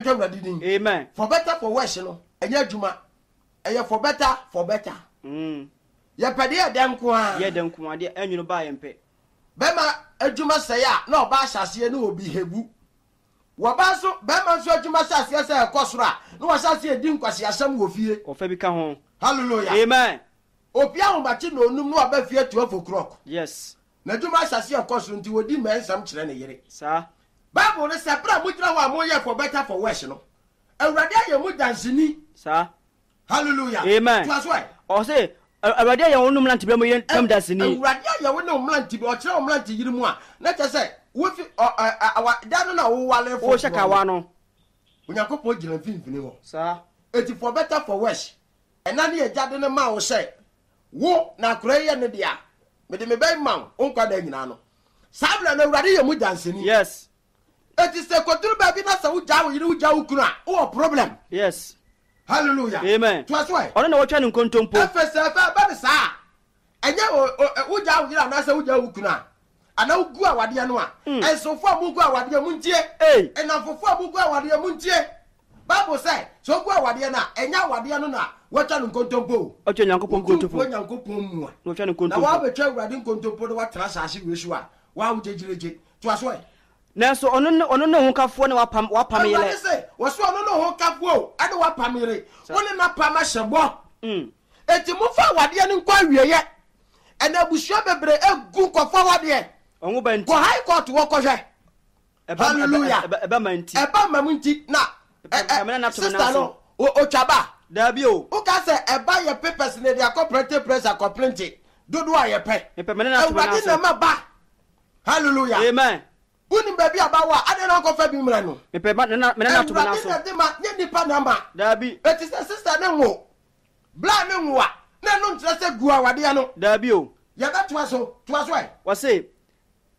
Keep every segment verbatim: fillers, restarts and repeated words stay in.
Hyɛ nka Awurade din. Amen. For better for worse no, ɛnyɛ adwuma. Ɛyɛ for better for better. Mm. Yɛpɛ deɛ ɛdɛ nko a. Yɛ dɛ nko adeɛ ɛnwono baa yɛn pɛ. Bɛrima adwuma sɛe a, na ɔbaa hyɛ aseɛ ne obi hebu. Wɔbaa nso, bɛrima nso adwuma hyɛ aseɛ sɛ ɛkɔ soro a, na wahyɛ aseɛ di nkwaseasɛm wɔ fie. Ɔfɛ bi ka ho. Hallelujah. Amen. Opia ahomakye na onum na waba fie twelve o'clock. Yes. N'adwuma ahyɛ aseɛ ɛkɔ soro nti wɔdi mmɛnsɛm kyerɛ ne yere. Saa. Bible no sɛ berɛ a mogyina hɔ a moyɛ for better for worse no, Awurade ayɛ mo danseni. Saa. Hallelujah. Amen. Toa so ɛ. Ɔse Awurade ayɛ wo ne mmerante berɛ mu yere ntam danseni. Awurade ayɛ wo ne wo mmerante bi, ɔkyerɛ wo mmerante yere mu a, na kyerɛ sɛ wofi ɔ ɛ awa da no na wowale foforɔ. Wohyɛ kawa no. Onyankopɔn gyina mfimfini hɔ. Saa. Eti for better for worse, ɛna ne agya de no maa wo sɛ wo na akora yi yɛ ne dea, mede me bɛyi ma wo, wo nkwa da nyinaa no. Saa berɛ no Awurade yɛ mu danseni. Yes. Eti sɛ kɔduru baabi na sɛ wogyaa wo yere, wogyaa wo kunu a, wowɔ problem. Yes. Hallelujah. Amen. Toa so ɛ. Ɔno na wɔtwa ne nkontompo. Ɛfɛ sɛ ɛfɛ ɛbɛ ne saa a, ɛnyɛ wogyaa wo yere anaasɛ wogyaa wo kunu a, anaa wogu awadeɛ no a, ɛnsofo a mugu awadeɛ mu ntie. Ei. Ɛnamfofo a mugu awadeɛ mu ntie. Bible sɛ, sɛ wogu awadeɛ no a, ɛnyɛ awadeɛ no na wɔatwa no nkontompo o. Ɔtwa Nyankopɔn nkontompo. Otumfoɔ Nyankopɔn mu a. Na wɔtwa no nkontompo. Na wɔabɛtwa Awurade nkontompo na wɔatena asase wei so a, wɔawo gyegyeregye. Toa so ɛ. Nanso ɔno ne ɔno ne hokafoɔ ne wapam wapam yere. Awurade sɛ, wɔso ɔno ne hokafoɔ o, ɛne wapam yere. Wo ne n'apam ahyɛ bɔ. Mm. Enti momfa awadeɛ no nkɔ awieeɛ. Ɛna abusua bebree egu nkɔfo awadeɛ. Ɔho ba nti. Kɔ high court wɔ kɔhwɛ. Hallelujah. Ɛba ma nti. Ɛba ma mu nti na sister no otwa ba. Daabi o. Woka sɛ ɛba yɛ papers na ɛde akɔ printing press akɔ printing dodoɔ a yɛpɛ. Awurade na ɛma ba. Hallelujah. Amen. Wonim baabi a ba wɔ a, adɛn na nkɔfa bi mmerɛ no? Mepɛ ma nana mena na to me Awurade na de ma, nyɛ nipa na ma. Daabi. Eti sɛ sister ne nwo, bla ne nwo a, na ɛno nkyerɛ sɛ gu awadeɛ no. Daabi o. Yɛbɛtoa so, toa so ɛ. Wɔse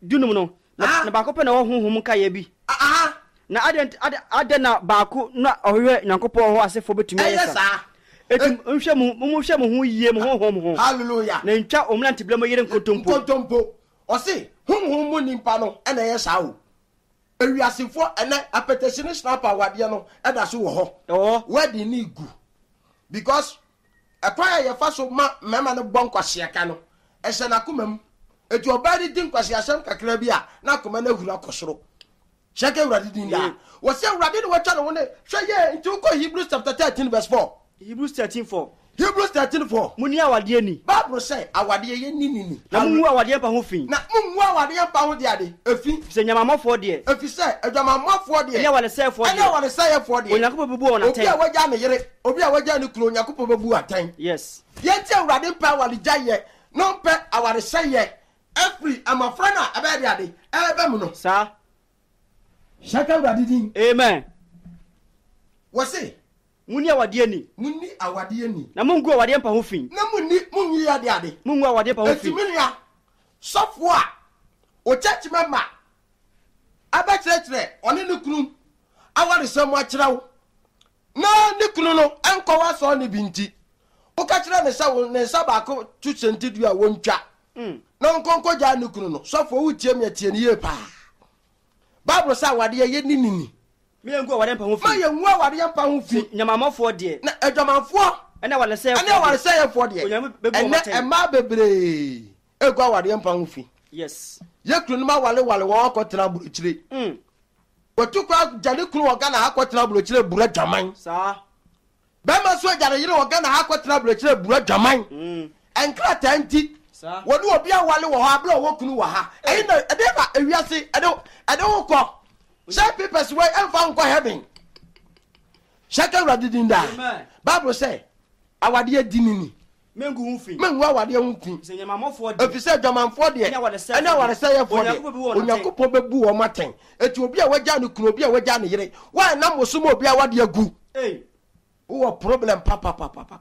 dunum no, na, na baako pɛ na ɔwɔ honhom nkaeɛ bi. Aha. Na adɛn adɛn na baako na ɔhwehwɛ Nyankopɔn hɔ asefoɔ bɛtumi ayɛ saa? Eti nhwɛ mo monhwɛ mo ho yie mo honhom ho. Hallelujah. Na ntwa wɔn mmeranteberɛ mu yere nkontompo. Nkontompo. Ɔse honhom mu nipa no ɛna ɛyɛ saa o. Ewiasefoɔ ɛnɛ apɛtɛsi ne snap awadeɛ no ɛda so wɔ hɔ. Ɛwɔ hɔ. Wedding ne gu. Because ɛkwan a yɛfa so ma mmarima no bɔ nkwaseaka no, ɛhyɛ n'akoma mu. Eti ɔbaa no di nkwaseasɛm kakra bi a, na akoma no ahuru akɔ soro. Hyɛ ka Awurade din daa. Wɔsi Awurade na watwa ne ho ne hwɛ yie nti wokɔ Hebrews chapter thirteen verse four. Hebrews thirteen four. Hebrews thirteen four. Munni awadeɛ ni. Bible sɛ awadeɛ yɛ ni ni ni. Na mungu awadeɛ mpa ho fi. Na mungu awadeɛ mpa ho de ade efi. Efisɛ nyamamɔfoɔ deɛ. Efisɛ adwamammɔfoɔ deɛ. Ɛne awaresɛefoɔ deɛ. Ɛne awaresɛefoɔ deɛ. Onyankopɔn bɛbu wɔn atɛn. Obi a wagya ne yere, obi a wagya ne kunu, Onyankopɔn bɛbu atɛn. Yes. Deɛ nti Awurade mpɛ awaregyaeɛ na ɔmpɛ awaresɛeɛ afiri mmɔfra no a ɛbɛyɛ de ade ɛreba mu no. Saa. Hyɛ ka Awurade din. Amen. Wɔse. Munni awadeɛ ni. Munni awadeɛ ni. Na mungu awadeɛ mpa ho fi. Na munni munyi ade ade. Mungu awadeɛ mpa ho fi. Eti me nua sɔfoɔ a o church member abɛkyerɛkyerɛ ɔne ne kunu awaresɛm akyerɛ wo na ne kunu no nkɔ w'asɔre no bi nti woka kyerɛ ne sɛ ne nsa baako to sɛntidua a wɔntwa na ɔnkɔ nkɔgyaa ne kunu no. Sɔfoɔ, wotie me a, tie no yie paa. Bible sɛ awadeɛ yɛ ni ni ni. Ma yɛngu awadeɛ mpa ho fi. Ma yɛngu awadeɛ mpa ho fi. Nyamamɔfoɔ deɛ. Na adwamanfoɔ. Ɛne awaresɛefoɔ deɛ. Ɛne awaresɛefoɔ deɛ. Ɛnɛ mmaa bebree egu awadeɛ mpa ho fi. Yes. Yɛ kununom awareware wɔn akɔtena aburokyire. Mm. Wɔtu kɔ agya ne kunu wɔ Ghana ha akɔtena aburokyire bura dwaman. Saa. Bɛrima nso agya ne yere wɔ Ghana ha akɔtena aburokyire bura dwaman. Mm. Nkrataa nti. Saa. Wɔne obi awale wɔ hɔ abere a ɔwɔ kunu wɔ ha. Ɛyi na ɛde na ewiase ɛde ɛde wo kɔ. Sɛ papers wei ɛmfa nkɔ heaven. Hyɛ ka Awurade din daa. Amen. Bible sɛ awadeɛ di ne ni. Mengu ho fi. Mengu awadeɛ ho fi. Sɛ nyamamɔfoɔ deɛ. Ɛfiri sɛ adwamanfoɔ deɛ. Ɛne awaresɛefoɔ Ɛne awaresɛefoɔ deɛ. Onyankopɔn bɛbu wɔn atɛn. Onyankopɔn bɛbu wɔn atɛn. Eti obi a wagya ne kunu, obi a wagya ne yere, wɔanam wo so ma obi awadeɛ agu. Ei. Wowɔ problem papapapapa.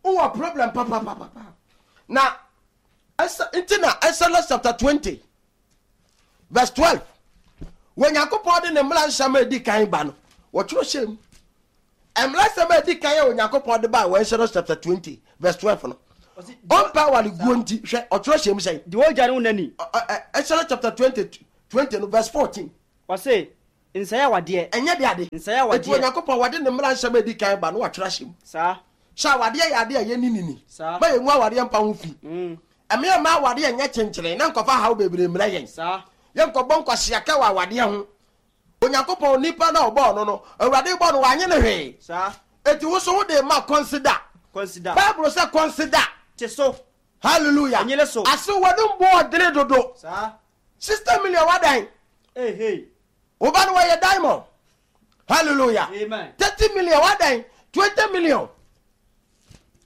Wowɔ problem papapapapa. Na ɛsɛ nti na Exodus chapter twenty verse twelve. Onyankopɔn de ne mmara nsɛm a edi kan ba no, wɔtwerɛ hyɛ mu. Mmara nsɛm a edi kan a Onyankopɔn de ba wɔ Exodus chapter twenty verse twelve no, ɔmpɛ awareguo nti, hwɛ, ɔtwerɛ hyɛ mu sɛn? Deɛ ɔgya ne wo nani. Exodus chapter twenty twenty no verse fourteen. Ɔse, Nsɛe awadeɛ. Ɛnyɛ de ade. Nsɛe Eti awadeɛ. Onyankopɔn wɔde ne mmara nsɛm edi kan ba no watwerɛ ahyɛ mu. Saa. Sɛ awadeɛ yɛ adeɛ a yɛni nini. Saa. Ma yɛngu awadeɛ mpa ho fi. Mm. Ɛmeɛ ma awadeɛ nyɛ kyenkyere na nkɔfa haw bebree mmerɛ yɛn. Saa. Yɛnkɔbɔ nkwaseaka wɔ awadeɛ ho. Onyankopɔn nipa na ɔbɔɔ no no, Awurade bɔ no wanye ne hwee. Saa. Eti wo so wode ma consider. Consider. Bible sɛ consider. Te so. Hallelujah. Ɛnyere so. Ase wɔde mbɔ ɔdene dodo. Saa. Sixty million wadan. Hey hey. Woba no wɔyɛ diamond. Hallelujah. Amen. Thirty million wadan. Twenty million.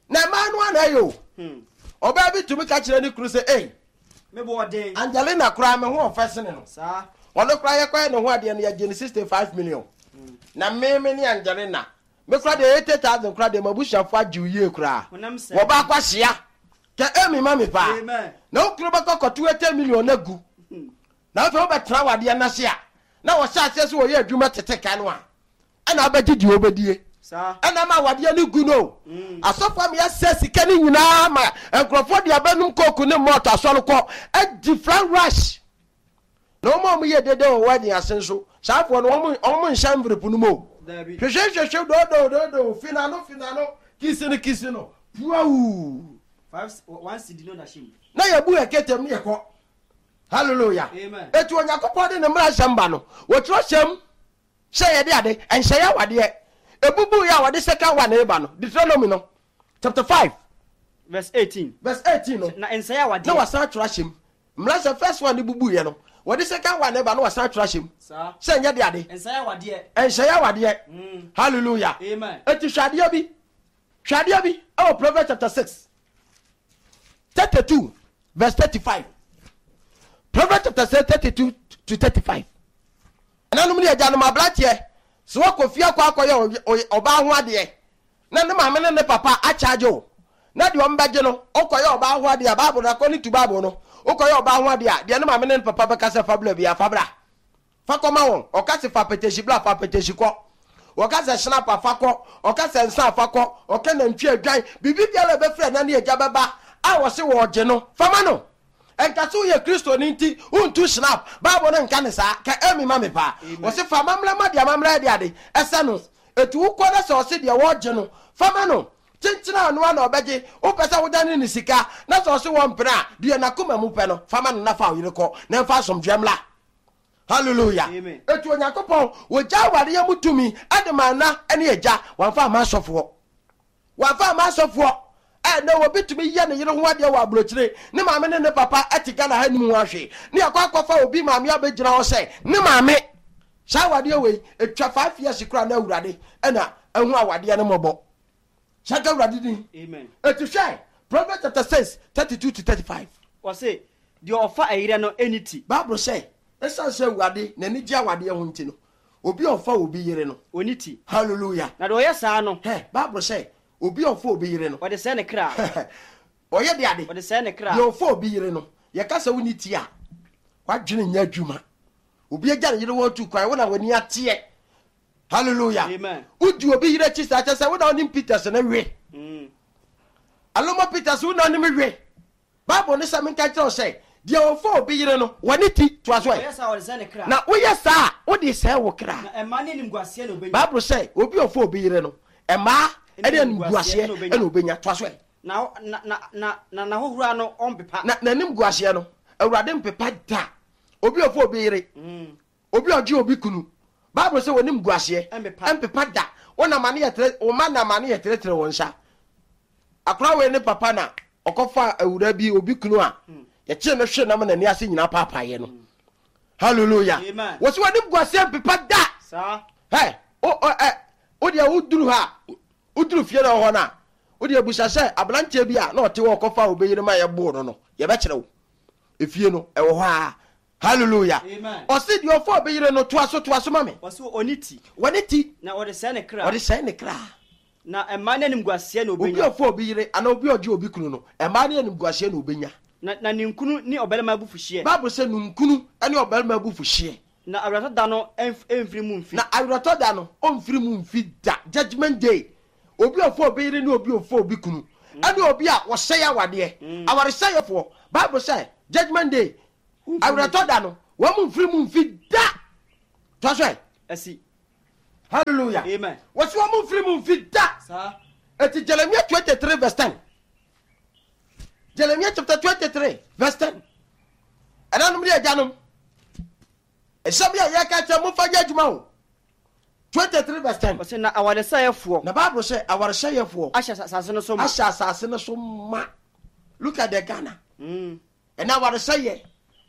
Na mmaa no ana ɛyɛ o. Hmm. Ɔbaa bi tumi ka kyerɛ ne kunu sɛ, "Ei, Me bɔ ɔden. Angelina koraa me ho ɔfɛ sene no." Saa. Ɔno koraa yɛkɔyɛ ne ho adeɛ no yɛgye ne sixty five million. Na me me ne Angelina. Me koraa deɛ eighty thousand koraa deɛ m'abusuafo agye wo yie koraa. Honam sɛ. Wɔba akɔ ahyia. Kɛ emi ma me paa. Amen. Na wo kunu bɛkɔ kɔto eighty million na gu. Na afei wobɛtena wadeɛ n'ase a na wɔhyɛ aseɛ sɛ wɔyɛ adwuma tete ka no a ɛna wobɛgye deɛ wobɛdie. Saa. Ɛna ma awadeɛ no gu no. Asɔfo ama yɛsɛ sika no nyinaa ma nkurɔfoɔ de abɛnum kooku ne mɔɔto asɔre kɔ adi flan rush. Na wɔn a wɔyɛ dede wɔ wedding ase nso saafoɔ no wɔn wɔn nhyɛ envelope no mu o. Dabi. Hwehwɛ hwehwɛ dodo dodo finano finano kisi no kisi no puawu. Five one cedi no na hyɛ mu. Na yɛbu yɛ ketem ne yɛkɔ. Hallelujah. Amen. Eti Onyankopɔn de ne mmara nsɛm ba no wɔtwerɛ hyɛm sɛ yɛde ade ɛnhyɛ yɛ awadeɛ ebubu yɛ a wɔde second one eba no Deuteronomy no chapter five Verse eighteen. verse eighteen no Na nsɛe na awadeɛ. wasan atwerɛ ahyɛm mmara sɛ first one ne bubu yɛ no wɔde second one eba no wasan atwerɛ ahyɛm Saa. sɛ nyɛ de ade Nsɛe awadeɛ. ɛnhyɛ yɛ awadeɛ. Mm. Hallelujah. Amen. Eti hwɛ adeɛ bi hwɛ adeɛ bi ɛwɔ Proverbs chapter six thirty two verse thirty five Proverbs chapter six thirty two to thirty five ɛnanom ne agyanom aberanteɛ sɛ wakɔ fie akɔ akɔyɛ ɔy- ɔbaa ho adeɛ na ne maame ne ne papa akyagye o na deɛ ɔmbɛgye no ɔkɔyɛ ɔbaa ho adeɛ a Bible no according to Bible no wokɔyɛ ɔbaa ho adeɛ a deɛ ne maame ne ne papa bɛka sɛ fa bra bia fa bra fa kɔma wɔn ɔka sɛ fa petehyi bra fa petehyi kɔ ɔka sɛ hyɛnapa fa kɔ ɔka sɛ nsa fa kɔ ɔka nantwi adwan biribi biara a ɛbɛfiri ɛna ne agya bɛba a wɔse wɔɔgye no fama no ɛnka sɛ woyɛ kristoni nti wontu snap Bible no nka ne saa ka ɛmi ma me paa wɔse fa amammerɛ ma deɛ amammerɛ de ade ɛsɛ no ɛti wokɔ no sɛ ɔse deɛ wɔɔgye no fama no kyenkyena ano a na ɔbɛgye wopɛ sɛ wodane ne sika na sɛ ɔse wɔ mpene a deɛ n'akoma mu pɛ no fama no na fa wo yere kɔ na ɛmfa asomdwoeɛ mmra. Hallelujah. Amen. Etu Onyankopɔn wɔgya awareɛ mu tumi ɛde ma na ɛne agya wɔmfa ama asɔfoɔ wɔmfa ama asɔfoɔ ɛnɛ obi tumi yɛ ne yere ho adeɛ wɔ aburokyire ne maame ne ne papa ɛte Ghana ha nim ho ahwee ne akɔ akɔfa obi maame abɛgyina hɔ sɛ ne maame saa awadeɛ wei etwa five years koraa na Awurade ɛna ɛho awadeɛ no mmɔbɔ saka Awurade din. Amen. Eti hwɛ Proverbs chapter six thirty two to thirty five. Wɔse deɛ ɔfa ɛyerɛ no ɛni ti. Bible sɛ ɛsiane sɛ Awurade n'ani gye awadeɛ ho nti no obi a ɔfa obi yere no Oni ti. Hallelujah. Na deɛ ɔyɛ saa no hɛ Bible sɛ obi a ɔfa obi yere no ɔde sɛe ne kra. ɔyɛ de ade Ɔde sɛe ne kra. deɛ ɔfa obi yere no yɛka sɛ woni ti a wadwene nyɛ adwuma obi agya ne yere wɔ tu kwan wo na w'ani ateɛ. Hallelujah. Amen. Wodi obi yere akyi saa kyɛ sɛ wo na wonim Peters ne we. Mm. Aloma Peters wo na wonim we. Bible ne sɛ menka kyerɛ wo sɛ deɛ ɔfa obi yere no wɔne ti toa so ɛ. Ɔyɛ saa ɔde sɛe ne kra. Na woyɛ saa a wode sɛe wo kra. Na ɛma ne nimguaseɛ na obɛnya. Bible sɛ obi a ɔfa obi yere no ɛmaa ɛne animguaseɛ ɛna obɛnya toa so ɛ. Na na na na na n'ahohora no ɔmpepa. Na n'anim guaseɛ no Awurade mpepa da. Obi a ɔfa obi yere Mm. obi a ɔgye obi kunu Bible sɛ wɔnim guaseɛ Ɛmpepa. ɛmpepa da. Wonam ane yɛ tere wo ma nam ane yɛ teretere wɔn nsa akora wei ne papa na ɔkɔfa awura bi obi kunu a yɛkyee no hwe nam n'ani ase nyinaa paapaeɛ no. Hallelujah. Amen. Wɔsi wɔnim guaseɛ mpepa da. Saa. Hɛ o o ɛ o deɛ woduru ha woduru fie na ɔhɔ na o deɛ busa sɛ aberanteɛ bi a na ɔte hɔ ɔkɔfa obi yere ma yɛboo no no yɛbɛkyerɛ wo efie no ɛwɔ hɔ a. Hallelujah. Amen. Ɔsi deɛ ɔfa obi yere no toa so toa so ma me. Wɔse oni ti. Wɔne ti. Na ɔde sɛe ne kra. Ɔde sɛe ne kra. Na ɛmaa ne animguaseɛ na Obi obɛnya. ɔfa obi yere anaa obi ɔgye obi kunu no ɛmaa ne animguaseɛ na obɛnya. Na na ne nkunu ne ɔbarima abufuhyeɛ. Bible sɛ nunkunu ne ɔbarima abufuhyeɛ. Na awerɛtɔ da no ɛmf- ɛmfiri mu mfi. Na awerɛtɔ da no ɔmfiri mu mfi da. Judgment day obi ɔfa obi yere ne obi ɔfa obi kunu ɛne obi a wɔsɛe awadeɛ awaresɛefoɔ Bible sɛ judgment day awerɛtɔ da no wɔn mu mfiri mu mfi da. Toa so ɛ. Asi. Hallelujah. Amen. Wɔsi wɔn mfiri mu mfi da. Saa. Eti Jeremiah twenty three verse ten. Jeremiah chapter twenty three verse ten. Ɛnanom ne agyanom. Ɛhyɛ bi a yɛka kyerɛ mo fa nyɛ adwuma o. Twenty three verse ten. Ɔsɛ na awaresɛefoɔ. Na Bible sɛ awaresɛefoɔ. Ahyɛ asase no so ma. Ahyɛ asase no so ma. Look at the Ghana. Mm. Ɛna awaresɛeɛ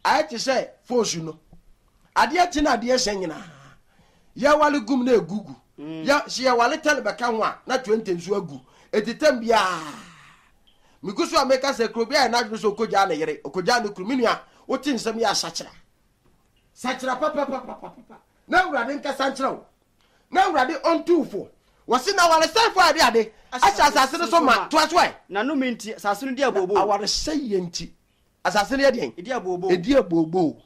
ayɛ te sɛ foosu no. Adeɛ kye na adeɛ hyɛ nyinaa. Yɛwale gum na egugu. Mm. Yɛ sɛ yɛwale tɛle bɛka ho a na twenty nso agu. Eti tɛm biara. Migu so a meka sɛ kuro bi a yɛ n'adwene sɛ okogyaa ne yere, okogyaa ne kunu. Me nua, wote nsɛm yɛ asakyera. Sakyera papapapapapa. Na Awurade nkasa nkyerɛ wo. Na Awurade ɔntu wo fo. Wɔsi na awaresɛefoɔ a yɛde ade ahyɛ asase no so ma. Toa so ɛ. Na nnome nti asase no di abooboo. Awaresɛeɛ nti asase no yɛ deɛn? Edi abooboo. Edi abooboo.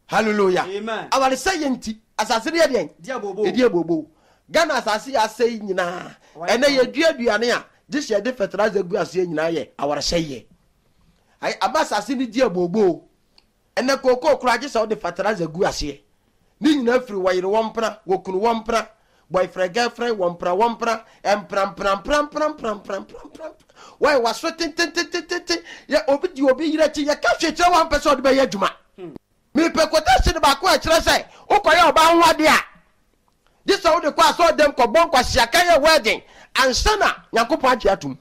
Hallelujah. Amen. Awaresɛeɛ nti asase no yɛ deɛn? Edi abooboo. Edi abooboo. Ghana asase yɛ asɛe nyinaa. Ɛnɛ yɛdua aduane a gye sɛ yɛde fertilizer gu aseɛ nyinaa yɛ awaresɛeɛ. Ayi ama asase no di abooboo. Ɛnɛ kookoo koraa gye sɛ wode fertilizer gu aseɛ. Ne nyinaa firi wɔyere wɔn mpena, wɔkunu wɔn mpena, boyfriend girlfriend wɔn mpena wɔn mpena, mpena mpena mpena mpena mpena mpena mpena mpena. Wɔyɛ waso tententententen. Yɛ obi di obi yere akyi yɛka hwee kyerɛ wɔn ampɛ sɛ ɔde bɛyɛ adwuma. Mepɛ quotation baako a ɛkyerɛ sɛ wokɔyɛ ɔbaa ho adeɛ a gye sɛ wode kɔ asɔɔdɛm kɔbɔ nkwasiaka yɛ wedding ansa na Nyankopɔn agye atom.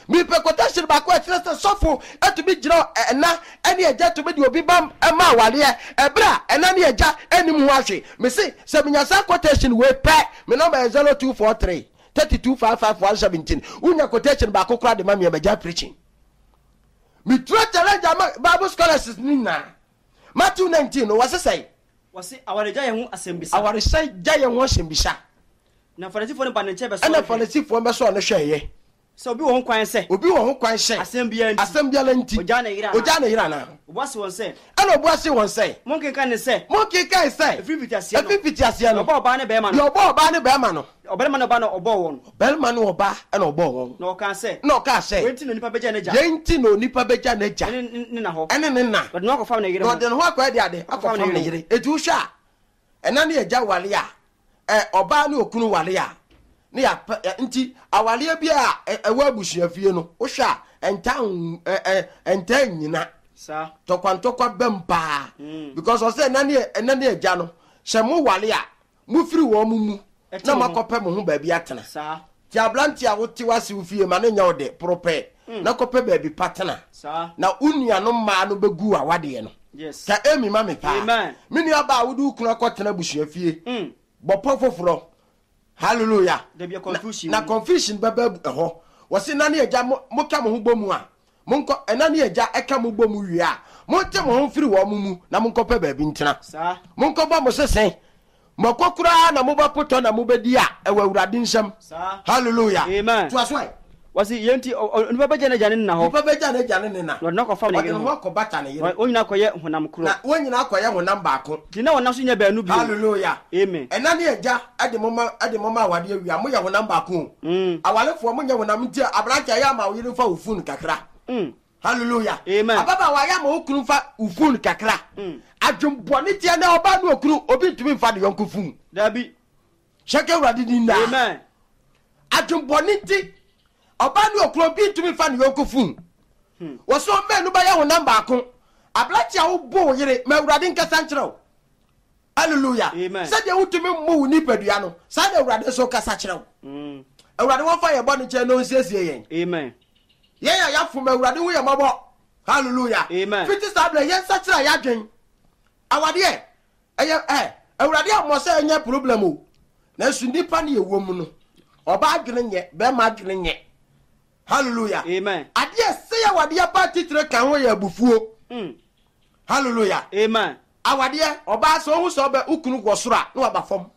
Mepɛ quotation baako a ɛkyerɛ sɛ sɔfo atumi gyina ɛna ɛne agya tumi de obi ba ma awareɛ ɛberɛ a ɛna ne agya anim ho ahwe. Mese sɛ menya saa quotation wei pɛ, me number yɛ zero two four three thirty two five five one seventeen. Wonya quotation baako koraa de ma me a magya preaching. Metura challenge ama Bible scholars no nyinaa. Matthew nineteen no wɔse sɛe. Wɔse awaregya yɛn ho asɛmbisa. Awaregya yɛn ho asɛmbisa. Na Farisifoɔ no ba ne nkyɛn bɛsɔɔ Ɛna no hwɛ. Farisifoɔ bɛsɔɔ no hwɛeɛ. Sɛ obi wɔ ho kwan sɛ. Obi wɔ ho kwan sɛ. Asɛm biara nti. Asɛm biara nti. Ogyaa ne yere anaa. Ogyaa ne yere anaa. Obua se wɔn sɛ. Ɛna obua se wɔn sɛ. Monkenkan ne sɛ. Monkenkan sɛ. Ɛfiri mfitiaseɛ no. Ɛfiri mfitiaseɛ no. Deɛ ɔbɔɔ ɔbaa ne bɛrima no. Deɛ ɔbɔɔ ɔbaa ne bɛrima no. Ɔbarima ne ɔbaa na ɔbɔɔ wɔn. Ɔbarima ne ɔbaa na ɔbɔɔ wɔn. Na ɔkaa sɛ. Na ɔkaa sɛ. Wei nti na onipa bɛgya n'agya. Yei nti na onipa bɛgya n'agya. Ɛne ne ne na hɔ. Ɛne ne na. Na ɔde ne ho akɔfam ne yere ho. Na ɔde ne ho akɔyɛ de ade. Akɔfam ne yere. Eti wohwɛ a, ɛna ne agya wale a, ɛ ɔbaa ne okunu wale a, ne yɛapɛ ɛ nti awaleɛ bi a ɛwɔ abusuafie no, wohwɛ a ɛntaa ɛ ɛ ɛntaa nyina. Saa. Tɔkwantɔkwa bɛm paa. Mm. Because ɔsɛ ɛna ne ɛna ne agya no, sɛ mo wale a, mofiri wɔn mo mu Ɛte na mo ho. moakɔpɛ mo ho baabi atena. Saa. Ti aberante a wote wase wo fie ma ne nyɛ wo de poropɛ na kɔpɛ baabi pa tena. Saa. Na wo nuanom mmaa no bɛgu awadeɛ no. Yes. Ka emi ma me paa. Amen. Me nua baa wode wo kunu akɔtena abusua fie. Mm. Bɔpɔ foforɔ. Hallelujah. Dabi a confusion. Na, na confusion bɛba ɛhɔ. Wɔsi na ne agya mo moka mo ho bɔ mu a monkɔ ɛna ne agya ɛka mo bɔ mu wie a monte mo ho mfiri wɔn mo mu na monkɔpɛ baabi ntena. Saa. Monkɔbɔ mo sesen. Mɔkɔ koraa na mobɛpotɔ na mobɛdi a ɛwɔ Awurade nsam. Saa. Hallelujah. Amen. Toa so ɛ. Wɔsi yɛn nti onipa bɛgya n'agya ne ne na hɔ. Nipa bɛgya n'agya ne ne na. Na ɔde ne ho akɔfam ne Ɔde yere ne ho. ho akɔbata ne yere. Wɔn nyinaa kɔyɛ honam korɔ. Na wɔn nyinaa kɔyɛ honam baako. Nti na wɔn nan so nyɛ baanu bio. Hallelujah. Amen. Ɛna ne agya ɛde mo ma ɛde mo ma awadeɛ wia moyɛ honam baako o. Mm. Awalefoɔ monyɛ honam nti aberante ayɛ ama wo yere mfa wo phone kakra. Mm. Hallelujah. Amen. Ababaawa ayɛ ama wo kunu mfa wo phone kakra. Mm. Adwembɔne teɛ na ɔbaa ne okunu obi ntumi mfa ne yɔnko phone. Dabi. Hyɛ Awurade din daa. Amen. Adwembɔne nti ɔbaa ne okunu obi ntumi mfa ne yɔnko phone. Wɔsɛ ɔmmaanu bɛyɛ honam baako. Aberante a wobɔ wo yere ma Awurade nkasa nkyerɛ wo. Hallelujah. Amen. Sɛdeɛ wotumi mmu wo nipadua no, saa na Awurade nso kasa kyerɛ wo. Mm. Awurade wɔmfa yɛn bɔne nkyɛn na ɔnsiesie yɛn. Amen. Yɛn a yɛafom Awurade hu yɛn mmɔbɔ. Hallelujah. Amen. Fiti saa berɛ yɛn nsa kyerɛ yɛadwen. Awadeɛ ɛyɛ ɛ Awurade ammɔ sɛ ɛnyɛ problem o. Nanso nipa ne yɛwɔ mu no, ɔbaa adwene nyɛ, bɛrima adwene nyɛ. Hallelujah. Amen. Adeɛ sɛ awadeɛ ba titire ka ho yɛ abufuo. Mm. Hallelujah. Amen. Awadeɛ ɔbaa sɛ ohu sɛ ɔbɛ ukunu wɔ soro a na waba fam.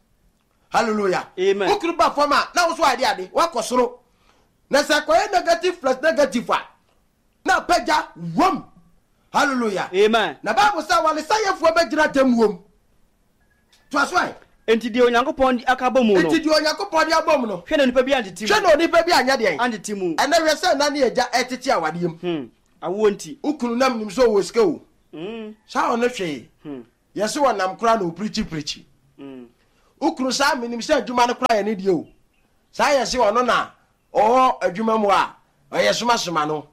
Hallelujah. Amen. Ukunu ba fam a na woso ade ade wakɔ soro. Na sɛ kɔyɛ negative plus negative a na apagya wom. Hallelujah. Amen. Na Bible sɛ awaresɛefoɔ bɛgyina atemmuo mu. Toa so ɛ. Enti deɛ Onyankopɔn de aka abɔ mu no. Enti deɛ Onyankopɔn de abɔ mu no. Hwɛ na onipa bi antete mu. Hwɛ na onipa bi anyɛ deɛn. Antete mu. Ɛnɛ hwɛ sɛ na ne agya ɛtete awadeɛ mu. Hmm. Awoɔ nti. Ukunu nam nim sɛ ɔwɔ sika o. Mm. Saa ɔno hwee. Hmm. Yɛsɛ wɔnam koraa na ɔpirikyi pirikyi. Mm. Wokunu saa menim sɛ adwuma no koraa yɛ ne deɛ o. Saa yɛ se ɔno na ɔwɔ adwuma mu a ɔyɛ somasoma no.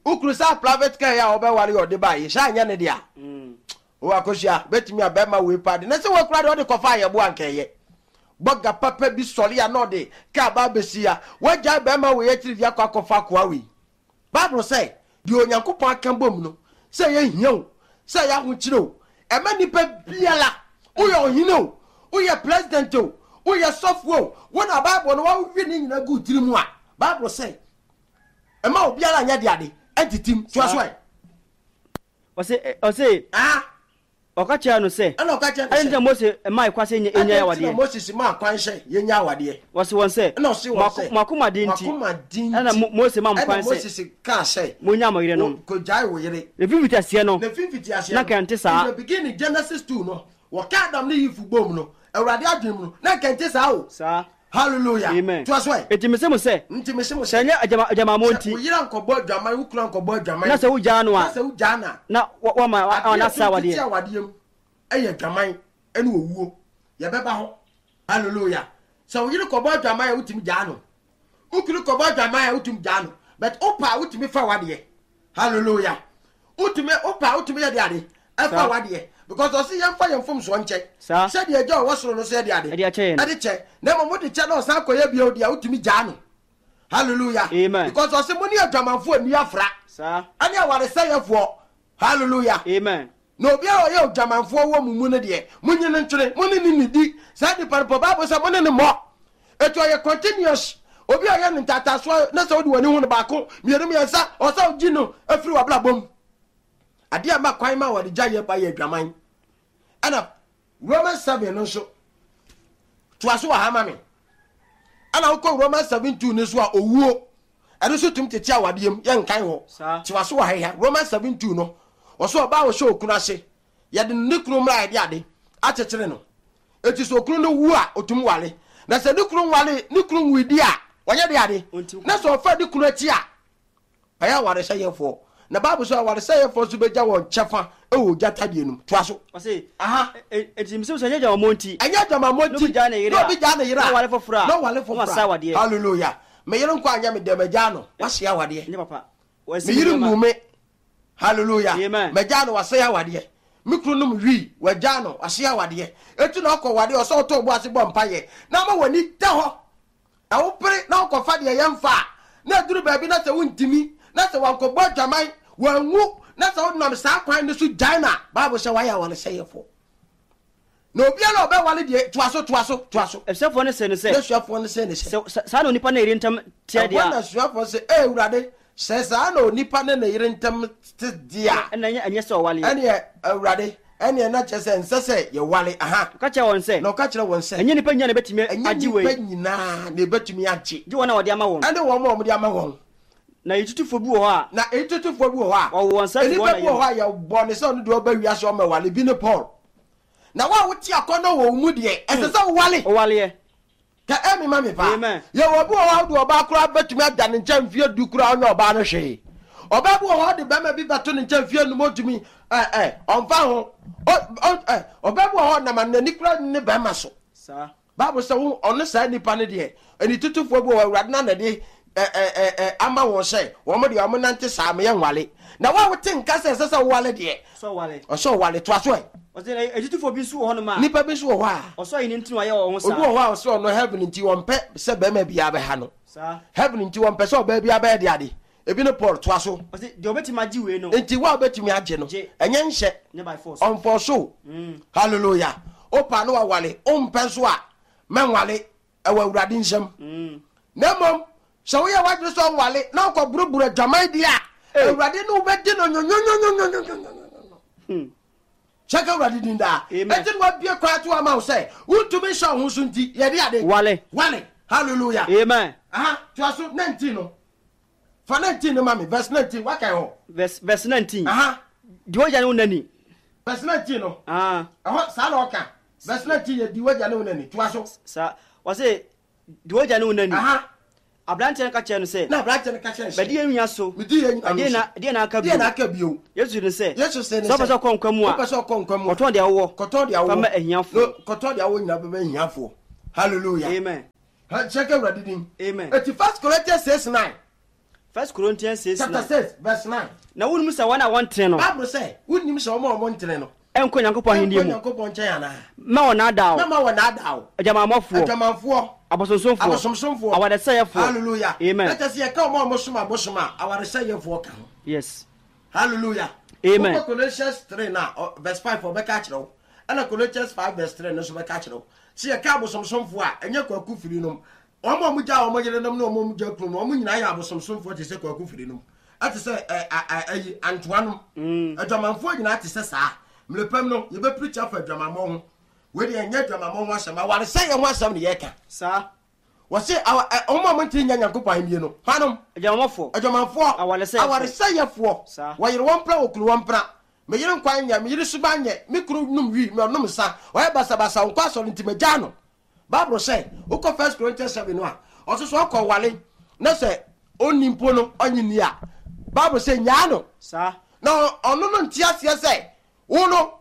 Wokunu saa private car yi a ɔbɛware yɛ ɔde baa yi saa nyɛ ne dea. O Akosua, bɛtumi a bɛrima wei paa de na sɛ wakura deɛ ɔde kɔfa ayɛbo anka ɛyɛ. Bɔga papa bi sɔre a na ɔde kaa ba abɛsi a wagyae bɛrima wei akyiri de akɔ akɔfa akoa wei. Bible sɛ deɛ Onyankopɔn aka bom no, sɛ ɛyɛ hia o, sɛ ɛyɛ ahokyere o, ɛma nipa biara, woyɛ ɔhene o, woyɛ president o, woyɛ sɔfo o, wo na Bible no wawe ne nyina gu tiri mu a, Bible sɛ ɛma obiara nyɛ de ade ɛntitim. Toa so ɛ. Ɔse ɔse Ah, ɔka kyerɛ no sɛ, ɛna ɔka kyerɛ no ɛne nti na sɛ, Mose maa kwan sɛ yɛnya ɛna nti na awadeɛ. Moses maa kwan sɛ yɛnya awadeɛ. Wɔse wɔn sɛ, Ɛna ɔse wɔn sɛ, mo akoma den nti mo akoma den ɛna nti Mo- Mose maa mo ɛna kwan sɛ Moses kaa sɛ monya mo yerenom. Kogyae wo yere. Na mfimfitiaseɛ no, Na mfimfitiaseɛ na no, nka nte saa. In the beginning, Genesis two no, wɔka Adam ne Eve bom no, Awurade adwene mu no, na nka nte saa o. Saa. Hallelujah. Amen. Toa so ɛ. Enti mese mo sɛ, Nti mese mo sɛ sɛ, ɛnyɛ agyama- agyamammɔ sɛ nti wo yere ankɔbɔ adwaman, wo kunu ankɔbɔ adwaman, na sɛ wogyaa no na a sɛ wogyaa no a, na wa- wama adeɛ na a sa ɛtumi tete awadeɛ. awadeɛ mu ɛyɛ adwaman ɛne owuo. Yɛbɛba hɔ. Hallelujah. Sɛ wo yere kɔbɔ adwaman a, wotumi gyaa no. Wo kunu kɔbɔ adwaman a, wotumi gyaa no, but wopa a, wotumi fa wadeɛ. Hallelujah. Wotumi, wopa a, wotumi yɛ de ade ɛfa Saa. wadeɛ, because ɔsi yɛmfa yɛn mfomsoɔ nkyɛ Saa. sɛdeɛ agya a ɔwɔ soro no sɛ yɛde ade Ɛde akyɛ yɛn. Ɛde kyɛ, na mmom wode kyɛ na ɔsan kɔyɛ bio deɛ, wotumi gyaa no. Hallelujah. Amen. Because ɔsi mo ne adwamanfoɔ nni afra Saa. ɛne awaresɛyɛfoɔ. Hallelujah. Amen. Na obiara a ɔyɛ odwamanfoɔ wɔ mo mu no deɛ, monyi no ntwene. Mo ne ne nidi saa nipa no pɔ. Bible sɛ mo ne ne mmɔ ɛti ɔyɛ continuous. Obi a ɔyɛ no ntatasoɔ na sɛ wode w'ani hu no baako, mmienu, mmiɛnsa, ɔsɛ wogyi no afiri w'abrabɔ mu. Adeɛ a ma kwan ma wɔde gya yɛ ba yɛ adwaman. Ɛna Romans seven no nso, toa so wɔ ha ma me. Ɛna wokɔ Romans seven two no so a, owuo ɛno nso tumi tete awadeɛ mu. Yɛnkan hɔ. Saa. Toa so wɔ ha ha Romans seven two no, ɔso ɔbaa a ɔhyɛ okunu ase, yɛde ne kunu mmra a yɛde ade akyekyere no. Eti sɛ okunu no wu a, otum wale. Na sɛ ne kunu wale, ne kunu wu di a, wɔnyɛ de ade Ɔnti na sɛ ɔfa ne kunu akyi a, ɔyɛ awaresɛyɛfoɔ. Na Bible sɛ awaresɛyɛfoɔ nso bɛgya wɔn kyɛfa ɛwɔ ogya tadeɛ no mu. Toa so. Ɔse Aha. ɛ- enti mese mo sɛ ɛnyɛ agyamammɔ nti Ɛnyɛ adwamammɔ na nti obi gyaa ne yere na a, obi gyaa ne yere a, na ɔware foforɔ a, na ɔware na foforɔ wasa a, awadeɛ. Hallelujah. Me yere nkɔ anyɛ me dɛm, agyaa no, wahye awadeɛ. Ɛnyɛ papa. Wɔasi Me yere nneɛma. ngu me. Hallelujah. Amen. Magyaa no, wasɛe awadeɛ. Me kunu nom wii, wagyaa no, wahye awadeɛ. Eti na ɔkɔ wadeɛ, ɔsɛ ɔtɔ ɔbo ase bɔ mpayɛ na ama w'ani da hɔ na wopere na wokɔfa deɛ yɛmfa a, na aduru baabi na sɛ wontimi na sɛ wankɔbɔ adwaman wanwu na sɛ wonam saa kwan no so gyae no a, Bible sɛ wayɛ awaresɛyɛfoɔ. Na obiara a ɔbɛwale deɛ, toa so, toa so, toa so. Asuafoɔ no sɛ no sɛ, Na asuafoɔ no sɛ ne sɛ, sɛ sɛ- saa na onipa ne yere ntam teɛ deɛ ɛhɔ na a, asuafoɔ sɛ, ee Awurade, sɛ saa na onipa ne ne yere ntam te deɛ a, ɛna ɛnyɛ ɛnyɛ sɛ ɔwaleɛ. Ɛneɛ Awurade, ɛneɛ na kyerɛ sɛ nsɛ sɛ yɛwale aha. Ɔka kyerɛ wɔn sɛ, Na ɔka kyerɛ wɔn sɛ, ɛnyɛ nipa nyinaa na ɛbɛtumi ɛnyɛ agye nipa wei, nyinaa na ɛbɛtumi agye, gye wɔn a wɔde ama wɔn. Ɛne wɔn a wɔde ama wɔn. Na yɛtutufoɔ bi wɔ hɔ a Na ɛtutufoɔ bi wɔ hɔ a wɔwɔ wɔn nsa fi nnipa wɔn bi wɔ hɔ a yɛbɔ ne sɛ ɔno deɛ ɔba wiase ɔma wale bi ne Paul. Na wo a wote akɔnnɔ wɔ wo mu deɛ, ɛsɛ sɛ wowale. Ɔwaleɛ. Ka ɛmi ma mi paa. Amen. Yɛwɔ bi wɔ hɔ a wode ɔbaa koraa bɛtumi ada ne nkyɛn mfeɛ du koraa, ɔnyɛ ɔbaa no hwee. Ɔbaa bi wɔ hɔ, ɔde bɛrima bi bɛto ne nkyɛn mfeɛ num, ɔntumi ɛ ɛ ɔmfa ho. Ɔ ɔ ɛ ɔbaa bi wɔ hɔ nam n'ani koraa ne bɛrima so. Saa. Bible sɛ wo ɔno saa nipa no deɛ, ɛni tutufoɔ bi wɔ hɔ, Awurade na nade ɛ ɛ ɛ ɛ ama wɔn sɛ wɔn deɛ wɔn nante saa meyɛ nwale. Na wo a wote nka sɛ ɛsɛ sɛ wowale deɛ, sɛ ɔwale. Ɔsɛ ɔwale. Toa so ɛ. Ɔsɛ na ɛtutufoɔ bi nso wɔ hɔnom a nipa bi nso wɔ hɔ a ɔsɔ ayi ne ntini wayɛ wɔn ho obi saa. Wɔ hɔ a ɔsɛ ɔno heaven nti wɔmpɛ sɛ bɛrima biara bɛha no. Saa. Heaven nti wɔmpɛ sɛ ɔbaa biara bɛyɛ de ade ebi ne Paul. Toa so. Ɔsɛ deɛ ɔbɛtumi agye wei no, Nti wo a wobɛtumi agye no, Gye. ɛnyɛ nhyɛ. Nyɛ by force. Ɔmfɔ so. Hallelujah. Wopa no wawale, wompɛ nso a mɛnwale, ɛwɔ Awurade nsɛm. Na mmom sɛ woyɛ w'adwene sɛ ɔnwale na wokɔboroboro adwaman deɛ a, Awurade ne wobɛdi no nyonyonyonyonyonyonyonyo. Kyɛ ka Awurade din daa. Amen. Ɛnti na wabie kwan to ama wo sɛ wontumi nhyɛ wo ho so nti yɛde ade Wale. Wale. Hallelujah. Amen. Aha, toa so. nineteen no, fa nineteen no ma me. Verse nineteen, wakae hɔ. verse verse nineteen. Aha. Deɛ ɔgya ne wo nani. Verse nineteen no. Ah. Ɛhɔ saa na ɔka. Verse nineteen yɛ di wagya ne wo nani. Toa so. Saa. Ɔsɛ deɛ ɔgya ne wo nani Aha. Aberanteɛ no ka kyerɛ no sɛ, Na aberanteɛ no ka kyerɛ no sɛ, Bɛdi yɛn nua so. Medi yɛn nua Ɛdeɛn so. na ɛdeɛn na aka Deɛ na bio? aka bio? Yesu ne sɛ, Yesu sɛ ne Sɛ wopɛ sɛ, sɛ ɔkɔ nkwa mu a, wopɛ sɛ ɔkɔ nkwa mu a, kɔtɔn deɛ wowɔ kɔtɔn deɛ fa ma wowɔ. ahiafoɔ. No, kɔtɔn deɛ wowɔ nyinaa bɛma ahiafoɔ. Hallelujah. Amen. Hyɛ ka Awurade din. Amen. Eti First Corinthians six nine. First Corinthians six Chapter nine. six verse nine. Na wonim sɛ wɔn a wɔntene no Bible sɛ, wonim sɛ wɔn a wɔntene no ɛnkɔ Nyankopɔn ahenni ɛnkɔ mu. Nyankopɔn nkyɛn anaa? Mma wɔn naadaa wo. Mɛma wɔn naadaa wo. Adwamanfoɔ, Adwamanfoɔ, abosonsomfoɔ, abosomsomfoɔ. awaresɛefoɔ. Hallelujah. Amen. Na kyerɛ sɛ yɛka wɔn a wɔsom abosom a, awaresɛefoɔ ka ho. Yes. Hallelujah. Amen. Wokɔ Colossians three na ɔ- verse five ɔbɛka akyerɛ wo. Ɛna Colossians five verse three no nso bɛka akyerɛ wo. Sɛ yɛka abosomsomfoɔ a, ɛnyɛ kwaku firi nom. Wɔn a wɔgya wɔn yerenom ne wɔn a wɔgya kunu no, wɔn nyinaa yɛ abosomsomfoɔ te sɛ kwaku firi nom. Ɛte sɛ ɛ ɛ ɛ ɛyi antoa nom. Adwamanfoɔ nyinaa te sɛ saa. Mmerɛpam no, yɛbɛpirikyi afa adwamammɔ ho. Wei deɛ ɛnyɛ adwamammɔ ho asɛm, awaresɛeɛ ho asɛm ne yɛreka. Saa. Wɔse awa ɛ wɔn a wɔntumi nyɛ Nyankopɔn ahennie no, hwanom? Adwamanfoɔ. Adwamanfoɔ. Awaresɛefoɔ. Awaresɛeɛfoɔ. Saa. Wɔyere wɔn mpena, wɔkunu wɔn mpena. Me yere nkwan nyɛ, me yere suban nyɛ, me kunu nom wii, me ɔnom nsa, ɔyɛ basabasa, ɔnkɔ asɔre nti magyaa no. Bible sɛ, wokɔ First Corinthians seven no a, ɔso sɛ ɔkɔ wale na sɛ ɔnni mpo no ɔnye nni a, Bible sɛ nyaa no. Saa. Na ɔno no nte aseɛ sɛ wo no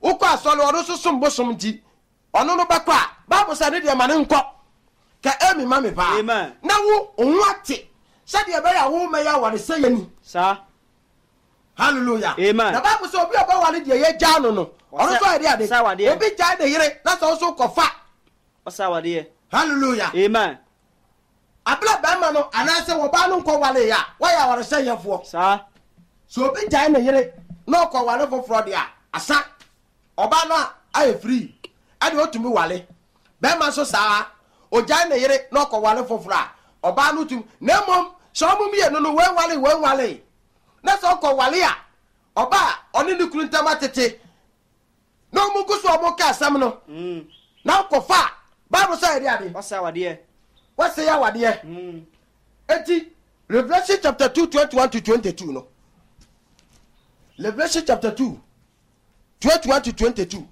wokɔ asɔre, ɔno nso som bosom nti ɔno no bɛkɔ a, Bible sɛ ne deɛ ma ne nkɔ. Ka emi ma me paa. Amen. Na wo wo ho ate sɛdeɛ ɛbɛyɛ a wo mɛyɛ awaresɛeɛ ni. Saa. Hallelujah. Amen. Na Bible sɛ obi a ɔbɛware deɛ yɛgyaa no no, ɔno nso ayɛ de ade. Ɔsɛ awadeɛ. Obi gyae ne yere na sɛ ɔso kɔfa. Ɔsɛ awadeɛ. Hallelujah. Amen. Abla bɛrima no anaasɛ wɔbaa no nkɔ wale a, wɔyɛ awaresɛeɛfoɔ. Saa. Sɛ obi gyae ne yere na ɔkɔ wale foforɔ deɛ a, asa. Ɔbaa no a ayɛ free ɛde otumi wale. Bɛrima nso saa, ogyae ne yere na ɔkɔ wale foforɔ a, ɔbaa no tumi. Na mmom sɛ ɔmo mmienu no wɔn wale wɔn wale na sɛ ɔkɔ wale a, ɔbaa ɔne ne kunu ntam atete na ɔmo gu so ɔmo ka asɛm no Mm. na ɔkɔfa a, Bible sɛ yɛde ade Ɔsɛ awadeɛ. wɔsɛ yɛ awadeɛ. Mm. Eti Revelation chapter two twenty one to twenty two no, Revelation chapter two twenty one to twenty two,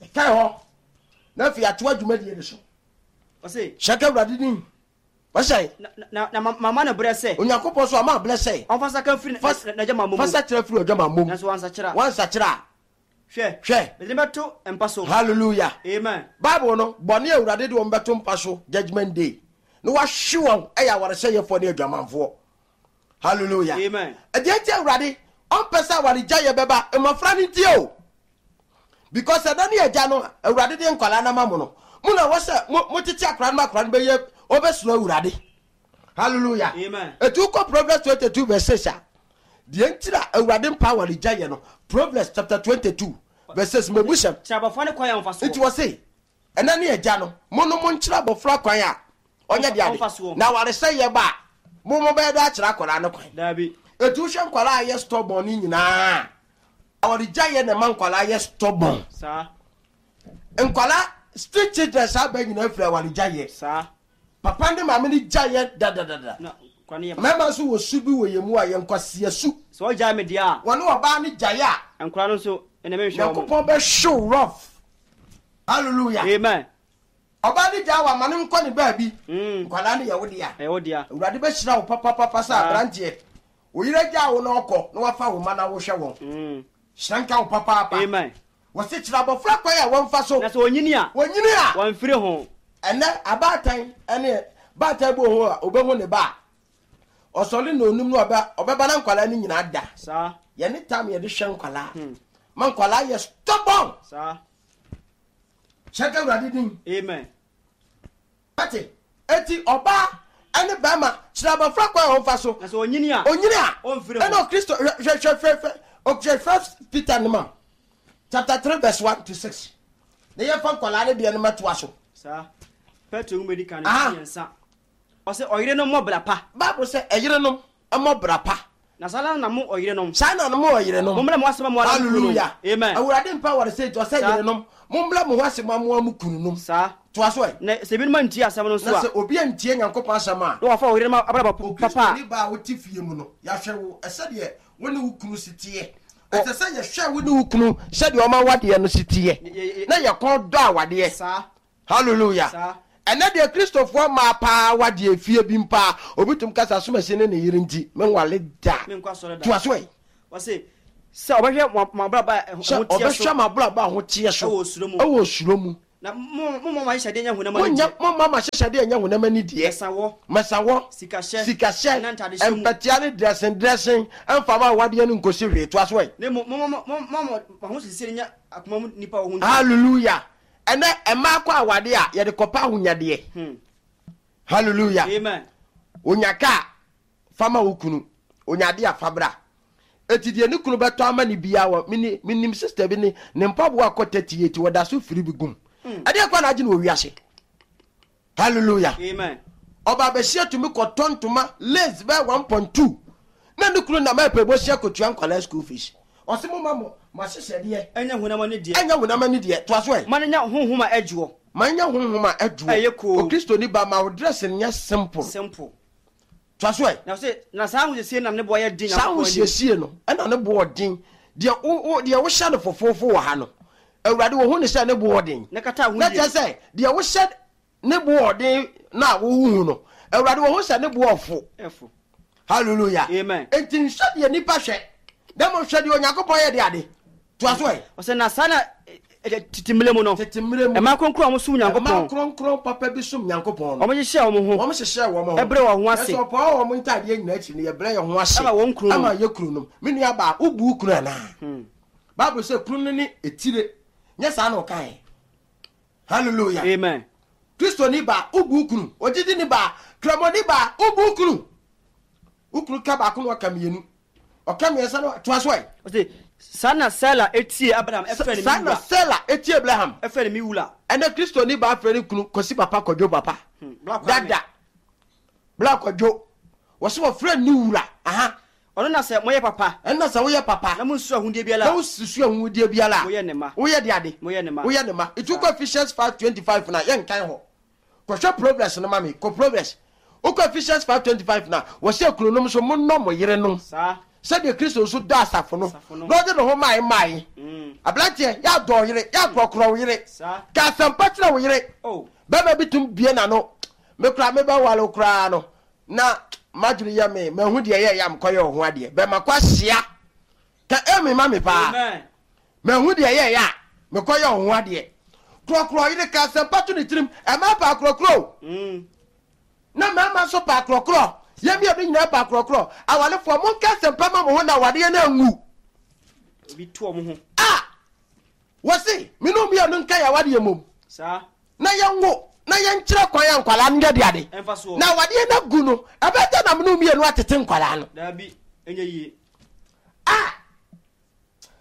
ɛkae hɔ na afei ato adwumadie no so. Ɔse, hyɛ ka Awurade din. Wɔhyɛ na na na ma- mama no berɛ sɛ Onyankopɔn so ama ablɛ sɛ ɔmfa saka mfiri Fas- n'agyamammɔ mu. fa sakyera firi adwamammɔ mu. Nanso wansakyera. Wansakyera a, Hwɛ. Hwɛ. Mede no bɛto mpa so. Hallelujah. Amen. Bible no, bɔne a Awurade de wɔn bɛto mpa so judgment day na wahwe wɔn ɛyɛ awaresɛeɛfoɔ ne adwamanfoɔ. Hallelujah. Amen. Ɛdeɛ nti Awurade ɔmpɛ sɛ awaregyaeɛ bɛba mmɔfra no ntie o, because ɛda ne agya no Awurade de nkwadaa no ama mo no, mo na wɔ sɛ mo motete akwadaa no ma akwadaa no bɛyɛ ɔbɛsoro Awurade. Hallelujah. Amen. Etu kɔ Proverbs twenty two verse six a, deɛ nti na Awurade mpa awaregyaeɛ no, Proverbs chapter twenty two verse six, mɛbu sɛm. Kyerɛ abɔfra ne kwan a ɔmfa soɔ. Nti wɔ se ɛna ne agya no, mo no mo nkyerɛ abɔfra kwan a ɔnyɛ de ade Ɔmfa soɔ. na awaresɛeɛ ba a, mo mo bɛyɛ de akyerɛ akwadaa no kwan. Daabi. Etu hwɛ nkwadaa a yɛ stubborn ne nyinaa, awaregyaeɛ na ɛma nkwadaa yɛ stubborn. Saa. Nkwadaa street children saa bɛɛ nyinaa firi awaregyaeɛ. Saa. Papa ne maame ne gyaeɛ dadadada. Na kwan yɛ. Mmarima nso wɔ su bi wɔ yɛn mu a yɛn nkwasia su. Sɛ ɔgyae me deɛ a, wɔne ɔbaa ne gyaeɛ a, nkwadaa no nso ɛna menhwɛ wɔn. Nyankopɔn bɛhyew rough. Hallelujah. Amen. Ɔbaa ne gyaa wa ma ne nkɔ ne baabi. Mm. Nkwadaa no yɛ wo dea. Ɛyɛ wo dea. Awurade bɛhyira wo papapapa sɛ Saa. aberanteɛ wo yere gyaa wo na ɔkɔ na wafa wo ma na wohwɛ wɔn. Mm. Hyira nka wo papaapa. Amen. Wɔse kyerɛ abɔfra kwan a wɔmfa so. Na sɛ onyini a, wɔnyini a, wɔmfiri ho. Ɛnɛ abaatan ɛne baatan bi wɔ hɔ a obɛhu ne ba a ɔsɔre na onum no ɔbɛ ɔbɛba na nkwadaa no nyinaa da. Saa. Yɛne tam yɛde hwɛ nkwadaa ma nkwadaa yɛ stubborn. Saa. Hyɛ ka Awurade din. Amen. Ate eti ɔbaa ɛne bɛrima, kyerɛ abɔfra kwan a wɔmfa so. Na sɛ onyini a, onyini a, ɔmfiri ho. Ɛna Kristo hwɛ hwɛ hwɛ hwɛ hwɛ ɔhwɛ First Peter no ma chapter three verse one to six na yɛfa nkwadaa ne deɛ no mɛtoa so. Saa. Petro nwoma di kan no Aha. mmiɛnsa. Ɔsɛ ɔyerenom mmɔ bra pa. Bible sɛ ɛyerenom mmɔ bra pa. Na saa na mo ɔyerenom. Saa na mo ɔyerenom. Mommrɛ mo ase ma mo ara mo kununom. Hallelujah. Amen. Awurade mpa wɔre sɛ nti ɔsɛ Saa. yerenom mommrɛ mo ho ase ma mo a mo kununom. Saa. Toa so ɛ. Na sɛ ebinom antie asɛm no nso na a, sɛ obi antie Nyankopɔn asɛm a, na wɔafa ɔyerenom abrabɔ papa a, Okristoni ba a wote fie mu no, yɛahwɛ wo ɛsɛdeɛ wo ne wo kunu si teɛ. Ɛsɛ sɛ yɛhwɛ wo ne wo kunu sɛdeɛ ɔma wadeɛ no si teɛ Ye- ye- na yɛkɔn dɔ awadeɛ. Saa. Hallelujah. Saa. Ɛnɛ deɛ, Kristofoɔ maa paa wadeɛ fie bi mpaa, obi tum kasa asomasi ne ne yere nti menwale da. Menkɔ asɔre da. Toa so ɛ. Wɔse sɛ ɔbɛhwɛ mo mo abrabɔ a ɛho sɛ ɛho teɛ so ɔbɛhwɛ ma abrabɔ a ho teɛ so ɛwɔ osuro mu. Ɛwɔ osuro mu. Na mo mo mo ahyehyɛdeɛ nyɛ honam monyɛ ani deɛ. Momma ma hyehyɛdeɛ nyɛ honam ani deɛ. Ɛsawɔ, mɛsawɔ, sikahyɛ, sikahyɛ, ɛna ntadehyɛ mu. Mpɛtea ne dressing dressing ɛmfa ma awadeɛ no nkosi hwee. Toa so ɛ. Na mmom mo mo mo mo mo mo ahosiesie nyɛ akoma mu nipa wɔ ho nti. Hallelujah! Ɛnɛ ɛmaa kɔ awadeɛ a, yɛde kɔpa ahonyadeɛ. Hmm. Hallelujah! Amen. Onya kaa fama wo kunu, onya ade a fabra eti deɛ ne kunu bɛtɔ ama ne bia wɔ mini. Minim sister bi ne ne mpaboa akɔ thirty eight, wɔda so firi bi gum. Ɛdeɛ kɔ na agye no wɔ wiase. Hallelujah! Amen. Ɔba abɛhyia tumi kɔtɔ ntoma lace bɛɛ one point two na ne kunu nam ɛpɛ bɔhyia kotua nkwadaa school fees. Ɔsi mo ma mo ma hyehyɛdeɛ ɛnyɛ honam ani deɛ. Ɛnyɛ honam ani deɛ. Toa so ɛ. Ma no nya honhom a ɛdwoɔ. Ma nyɛ honhom a ɛdwoɔ. Ɛyɛ koo. Okristoni ba, ma wo dress nyɛ simple. Simple. Toa so ɛ. Na sɛ na saa ahosiesie nam ne boɔ yɛ den Saa Nyankopɔn anim. Ahosiesie no ɛna ne boɔ den. Deɛ wo wo deɛ wohyɛ no fofoofo wɔ ha no, Awurade wɔhu ne sɛ ne boɔ den. Na kata Na ahodie. kyerɛ sɛ deɛ wohyɛ ne boɔ den na wohuhu no, Awurade wɔhu sɛ ne boɔ fo. Ɛfo. Hallelujah! Amen. Enti nhwɛ deɛ nipa hwɛ, na mmom hwɛ deɛ Onyankopɔn yɛ de ade. Toa so ɛ. Ɔsɛ na saa na ɛ- ɛ- tete mmerɛ mu no, tete mmerɛ mu, ɛma kronkron a wɔsom ɛma Nyankopɔn, kronkron papa bi som Nyankopɔn no, wɔn hyehyɛ wɔn ho, wɔn hyehyɛ wɔn ho, ɛbrɛ wɔn ho ase, ɛsɛ ɔpɔn wɔn ntaadeɛ nyinaa akyi no, yɛbrɛ yɛn ho ase ɛma wɔn kunu nom. Ama yɛ kunu nom. Me nua baa, wobu wo kunu anaa? Hmm. Bible sɛ kunu no ne etire, nyɛ saa na ɔkae? Hallelujah! Amen. Kristoni baa, wobu wo kunu? Ogyidi ni baa, kramoni baa, wobu wo kunu? Wo kunu ka baako na ɔka mmienu, ɔka mmiɛnsa na toa so ɛ. Ɔsɛ saa na Sara etie Abraham ɛfrɛ ne Saa mi na wura. Sara etie Abraham. Ɛfrɛ ne mi wura. Ɛnɛ Kristoni baa frɛ ne kunu Kɔsi papa, Kɔdwo papa. Hmm. Black Kwame. Dada bla Kɔdwo, wɔsɛ wɔfrɛ ne wura aha. Ɔno na sɛ moyɛ papa, ɛnna sɛ woyɛ papa, na monsu ahudeɛ biara na a, wosusu ahudeɛ biara a, moyɛ ne ma. Woyɛ de ade. Moyɛ ne ma. Woyɛ ne ma. Ɛti wokɔ Ephesians five twenty-five na yɛnkan hɔ, kɔhwɛ Proverbs no ma me. Kɔ Proverbs. Wokɔ Ephesians five twenty-five na wɔsɛ kununom so monnɔ mo yerenom saa sɛdeɛ Kristo nso dɔ asafo no Asafo no. na ɔde ne ho mae mae. Mm. Aberanteɛ, yɛadɔ wo yere, yɛakorɔkorɔ wo yere, saa ka asɛmpa kyerɛ wo yere. Oh. Bɛrima bi tum bie n'ano, me koraa mebɛwale wo koraa no na madwene yɛ me mahu deɛ yɛ yɛ mekɔyɛ wo ho adeɛ. Bɛma kɔ ahyia ka ɛmi ma me paa. Amen. Mahu deɛ yɛ yɛ a mekɔyɛ wo ho adeɛ. Korɔkorɔ yere, ka asɛmpa to ne tirim. Ɛma pa akorɔkorɔ o. Mm. Na mmarima nso pa akorɔkorɔ. Yɛn mmienu nyinaa pa akorɔkorɔ. Awalefoɔ, monka asɛmpa ma mo ho na awadeɛ no anwu. Obi to ɔmo ho. A wɔse me ne mmienu nka yɛ awadeɛ mmom saa na yɛnwo na yɛnkyerɛ kwan a nkwalaa no nyɛ de ade. Ɛmfa soɔ. Na awadeɛ no agu no, ɛbɛgya na me ne mmienu atete nkwalaa no. Daabi, ɛnyɛ yie. A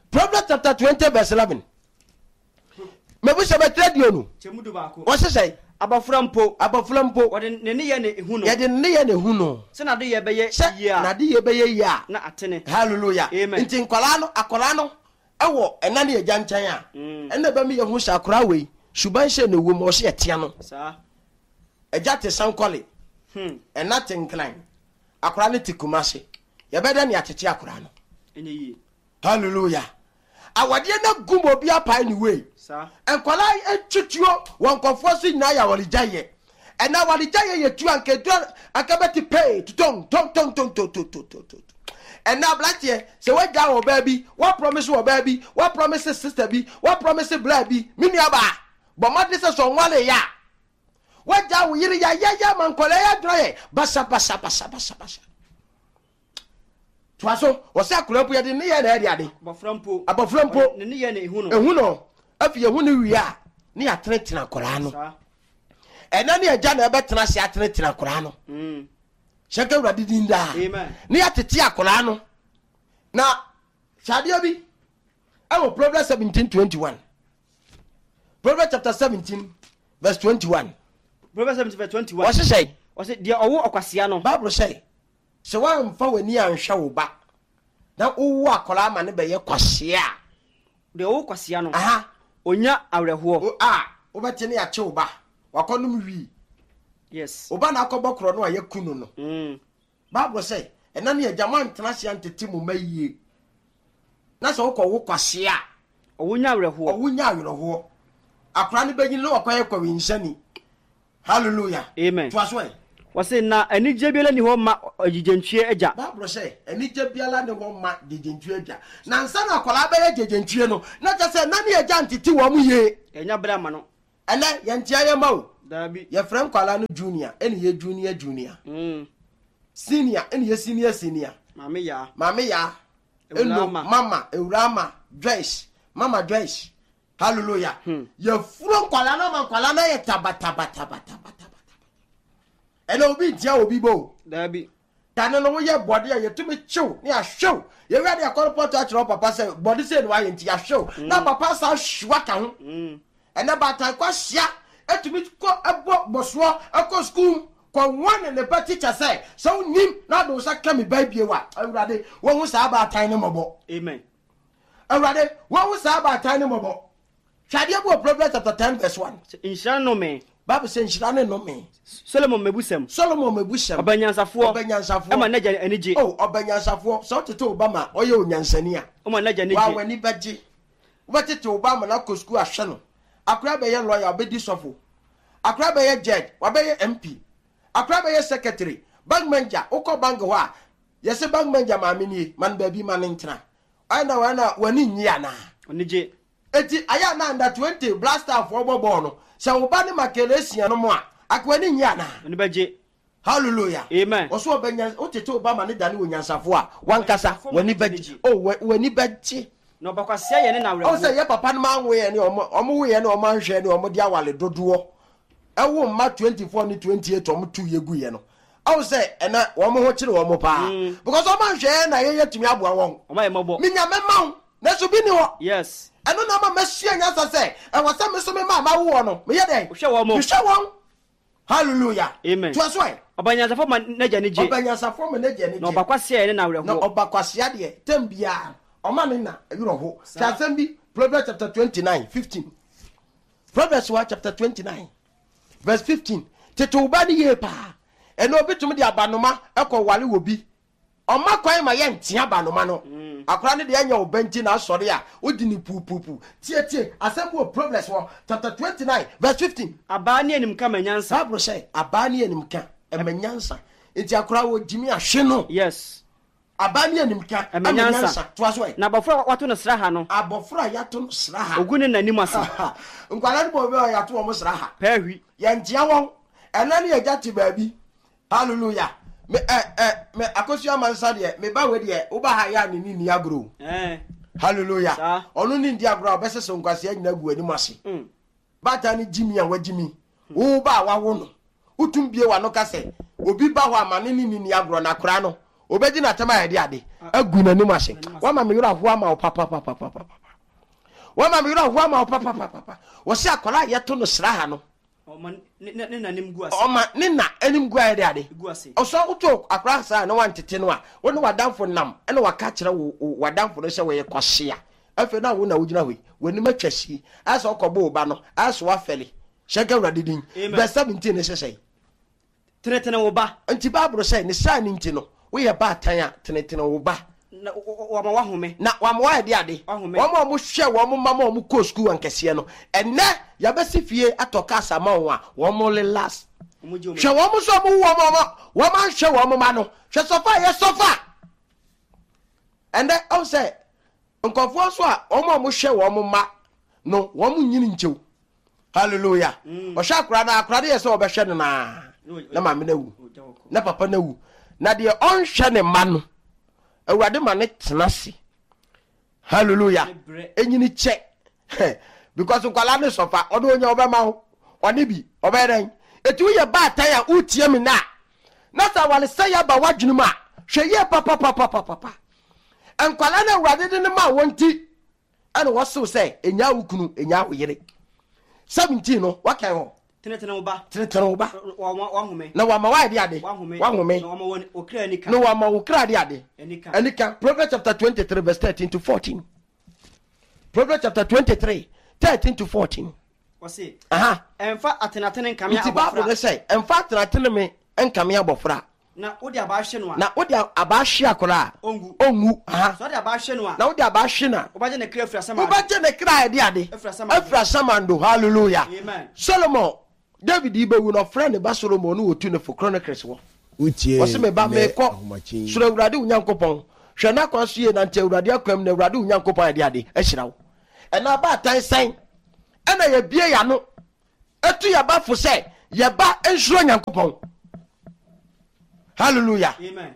Proverbs chapter twenty verse eleven, mabusɛ bɛtwerɛ duonu kyɛmu du baako. Wɔhyehyɛ. Abɔfra mpo, abɔfra mpo, wɔde ne ne yɛ ne ehu no, yɛde ne yɛ ne hu no, sɛ n'ade yɛ bɛyɛ sɛ yie a, n'ade yɛ bɛyɛ yie a, na atene. Hallelujah! Amen. Nti nkwalaa no, akwaraa no ɛwɔ ɛna ne agya nkyɛn a, Mm. ɛna bɛmi yɛ ho sɛ akwaraa wei suban hyɛ ne wom, ɔsɛ yɛtea no. Saa. Agya te Sankɔle, hmm. ɛna te Nkran, akwaraa no te Kumase, yɛbɛdɛ ne atete akwaraa no? Ɛnyɛ yie. Hallelujah! Awadeɛ no gum, obi apae ne wei. Saa. Nkwadaa atwituo wɔ nkɔfoɔ so nyinaa yɛ awaregyaeɛ. Ɛna awaregyaeɛ yɛ tu anka edura anka bɛte pee tutɔn tɔn tɔn tɔn tɔn tɔn tɔn tɔn tɔn. Ɛna aberanteɛ, sɛ wagya wɔ baa bi, wapromise wɔ baa bi, wapromise sister bi, wapromise bla bi, me nua baa, bɔ mmɔden sɛ sɛ ɔnwale yɛ a, wagya wo yere yayaya ma nkwadaa yɛ adwene yɛ basa basa basa basa basa. Toa so. Wɔsɛ akwadaa mpo, yɛde ne yɛ na ɛde ade. Abɔfra mpo, abɔfra mpo, wɔde ne ne yɛ ne ehu no. Ehu no. Afei ehu no wie a, ne yɛatenetene akwadaa no. Saa. Ɛna ne agya na ɛbɛtena ase atenetene akwadaa no. Mm. Hyɛ nka Awurade din daa. Amen. Ne yɛatete akwadaa no. Na hwɛ adeɛ bi ɛwɔ Proverbs seventeen twenty one, Proverbs chapter seventeen verse twenty one. Proverbs seventeen verse twenty-one. Wɔhyehyɛ. Ɔsɛ deɛ ɔwo ɔkwasea no, Bible sɛ sɛ woamfa w'ani anhwɛ wo ba na wowo akwadaa ma ne bɛyɛ kwasea a, deɛ ɔwo kwasea no, aha onya awerɛhoɔ. wo- a wobɛte ne yɛakye wo ba wakɔnom wii. Yes. Wo ba na akɔbɔ korɔ no a, yɛku no no. Mm. Bible sɛ ɛna ne agya moantena ase antete mo ma yie na sɛ wokɔ wo kwasea a, ɔwo nya awerɛhoɔ. Ɔwo nya awerɛhoɔ. Akora no bɛnyini na wakɔyɛ kɔwensani. Hallelujah. Amen. Toa so ɛ. Wɔse na anigye biara ni hɔ ma agyegyentwie agya. Bible sɛ anigye biara ne hɔ ma gyegyentwie agya. Na nsa na akwadaa bɛyɛ gyegyentwie no, na kyɛ sɛ na ne agya ntete wɔn mu yie. Ɛnya berɛ ama no. Ɛnɛ yɛntea yɛn ma o. Daabi. Yɛfrɛ nkwadaa no junior, ɛne yɛ junior junior. Mm. Senior, ɛne yɛ senior senior. Maame yaa. Maame yaa. Ewura Eno, ama. Mama, Ewurama, Joyce, Mama Joyce. Hallelujah. Hmm. Yɛfuro nkwadaa no ama nkwadaa no ayɛ tabatabatabatabataba. Ɛnɛ obi ntia obi bɔ o. Daabi. Kane no woyɛ bɔde a yɛtumi kyew ne ahwew. Yɛwia de akɔrɔ pɔtɔ akyerɛ wo papa sɛ bɔde sɛ no wayɛ nti ahwew. Na papa sa ahwewa ka ho. Mm. Ɛnɛ baatan kɔ ahyia etumi kɔ ɛbɔ bɔsoɔ ɛkɔ sukuu kɔ wɔn ne ba tikya sɛ sɛ wonim na ade wo nsa ka me ba bie wa, Awurade wɔhu saa baatan ne mmɔbɔ. Amen. Awurade wɔhu saa baatan ne mmɔbɔ. Hwɛ adeɛ bi wɔ Proverbs chapter ten verse one. Sɛ nhyira nnome. Bible sɛ nhyira ne nnome. Solomon mebusɛm. Solomon mebusɛm. Ɔbɛnyansafoɔ. Ɔbɛnyansafoɔ. Ɛma n'agya ani gye. Oh, ɔbɛnyansafoɔ, sɛ wotete wo ba ma ɔyɛ onyansani a, ɔma n'agya ani wa gye. W'ani bɛgye. Wobɛtete wo ba ama no akɔ sukuu ahwɛ no. Akora bɛyɛ lawyer, ɔbɛdi sɔfo. Akora bɛyɛ judge, wabɛyɛ M P. Akora bɛyɛ secretary, bank manager. Wokɔ bank hɔ a, yɛsɛ bank manager maame nie, ma no baabi ma no ntena. Ɛna ɛna w'ani nnye anaa? Ɔni gye. Eti ayɛ ana under twenty Black Star foɔ bɔ bɔɔl no, sɛ wo ba ne Makelesian no mu a, aka w'ani nnye anaa? Ɔni bɛgye. Hallelujah. Amen. Ɔso ɔbɛnya wotete wo ba ma ne dane wɔ nyansafoɔ a, wankasa w'ani bɛgye. Oh, w'ani bɛgye. Na ɔbɛkwasia yɛ ne na Ɔn awerɛhoɔ. Sɛ yɛ papa no ma anwo yɛ ne ɔmo ɔmo wo yɛ ne ɔmo anhwɛ ne ɔmo de awale dodoɔ ɛwo mma twenty four ne twenty eight ɔmo tu yɛ gu yɛ no, ɔn sɛ ɛnɛ wɔn ho kyerɛ wɔn paa Mm. because ɔmo anhwɛ yɛ na yɛyɛ tumi aboa wɔn. Ɔma yɛ mmɔbɔ. Minya mɛma wo nanso bi ni hɔ. Yes. Ɛno na ama mɛsua nyansa sɛ ɛwɔ sɛ me so me ma ma wo wɔ no meyɛ dɛn? Wohwɛ wɔn mo. Mehwɛ wɔn. Hallelujah. Amen. Toa so ɛ. Ɔbɛnyansafoɔ ma n'agya ani gye. Ɔbɛnyansafoɔ ma n'agya ani Na gye. ɔbɛkwasia yɛ ne na Na awerɛhoɔ. Ɔba kwasia deɛ, tɛm biara ɔma ne na werɛ ho. Sɛ asɛm bi, Proverbs chapter twenty nine fifteen. Proverbs one chapter twenty nine verse fifteen. Tete wo ba ne yie paa. Ɛna obi tumi de abanoma ɛkɔ wale wɔ bi, ɔma kwan ma yɛ ntea abanoma no. Akora no deɛ, ɛnyɛ wo ba nti na asɔre a wodi ne puupuupu. Tietie asɛm bi wɔ Proverbs wɔ chapter twenty nine verse fifteen. Abaa ne animka ma nyansa. Bible sɛ abaa ne animka ɛma nyansa, nti akora wɔ gyimi ahwe no. Yes. Abaa ne animka ɛma nyansa. Toa so ɛ. Na abɔfra a wato no sra ha no, Abɔfra a yɛato no sra ha, ogu ne n'anim ase. Nkwalaa no bɔ obi a yɛato wɔn sra ha. Pɛɛ hwi. Yɛntea wɔn. Ɛnɛ ne yɛgya te baabi. Hallelujah. Me ɛ ɛ me Akosua Mansa deɛ, me ba wei deɛ, woba ha yɛ a ne ni ni agorɔ. Ɛɛ. Hallelujah. Saa. Ɔno ne ndi agorɔ a ɔbɛsese nkwasea nyina gu anim ase. Mm. Baatan ne gyimi a wagyimi wo ba a wawo no, wotum bie w'ano ka sɛ obi ba hɔ ama ne ne ni ni agorɔ na akora no obɛgye n'atam a yɛde ade agu n'anim ase. Wama me werɛ ahoa ama wo papapapapapa. Wama me werɛ ahoa ama wo papapapapa. Wɔsɛ akwadaa a yɛto no sra ha no, Ɔma ne ne ne n'anim gu ase. Ɔma ne na anim gu ayɛ de ade. Gu ase. Ɔsɔ woto akwadaa saa na wantete no a, wo ne w'adamfo nam ɛna waka kyerɛ wo wo- w'adamfo no sɛ wɔyɛ kwasea. Afei na wo na wogyina hɔ yi, w'anim atwa si ayɛ sɛ ɔkɔbɔ wo ba no ayɛ sɛ wafɛle hyɛ nka Awurade din. Amen. Verse seventeen ne hyehyɛ. Tenetene wo ba. Nti Bible sɛ ne saa ne nti no, woyɛ baatan a, tenetene wo ba. Na wama wahome. Na wama wayɛ de ade. Wahome. Wɔn a wɔhwɛ wɔn mma ma wɔn kɔ sukuu ankɛseɛ no, ɛnɛ yɛbɛsi fie atɔ cars ama wɔn a, wɔn relax. Wɔn gye wɔn. Hwɛ wɔn nso a wɔn wɔn wɔn wɔn anhwɛ wɔn mma no, hwɛ sɔfa a yɛ sɔfa. Ɛnɛ ɔn sɛ nkɔfoɔ nso a wɔn a wɔhwɛ wɔn mma no, wɔn nyini nkyɛw. Hallelujah. Ɔhwɛ akora no, akora no yɛ sɛ ɔbɛhwɛ no naa na maame no awu na papa no awu. Na deɛ ɔnhwɛ ne mma no, Awurade ma ne tena ase. Hallelujah. Enyini kyɛ because nkwalaa ne sɔfa ɔde onya ɔbɛma wo ɔne bi ɔbɛyɛ dɛn. Eti woyɛ baatan a wotie mi na na sɛ awalesɛ yɛ aba w'adwene mu a, hwɛ yie papapapapapa. Nkwalaa no, Awurade de ne ma wɔn ti ɛna wɔsew sɛ enya wo kunu, enya wo yere. Seventeen no wakan hɔ. Tenetene wo ba. Tenetene wo ba. Wahome. Na wama wayɛ de ade. Wahome. Wahome. Na wama wɔn okra anika. Na wama wo kra de ade. Anika. Anika. Proverbs chapter twenty-three verse thirteen to fourteen. Proverbs chapter twenty-three thirteen to fourteen. Ɔse, Aha. ɛmfa atenatene nkame Nti Bible ne abɔfra. sɛ ɛmfa atenatene me nkame abɔfra. Na wode abaa hwe no a, Na wode abaa hwe akora a, ɔngu. Ɔngu. Aha. Sɛ wode abaa hwe no a, Na wode abaa hwe no a, wobɛgye ne kra afiri asamando. Wobɛgye ne kra a ɛde ade Afiri asamando. afiri asamando. Hallelujah. Amen. Solomon David yi bɛwu no, ɔfrɛ ne ba Solomon ne wɔtu ne fo. Chronicles wɔ. Wotie Ɔse, me ba, nnɛ meekɔ. ahomakye yi. Suro Awurade wo Nyankopɔn, hwɛ n'akwan so yie, nante Awurade akwan mu, na Awurade wo Nyankopɔn ayɛ de ade ahyira wo. Ɛna abaatan sɛn ɛna yɛbie yɛano ɛtu yɛba fo sɛ yɛba nsuro Nyankopɔn? Hallelujah. Amen.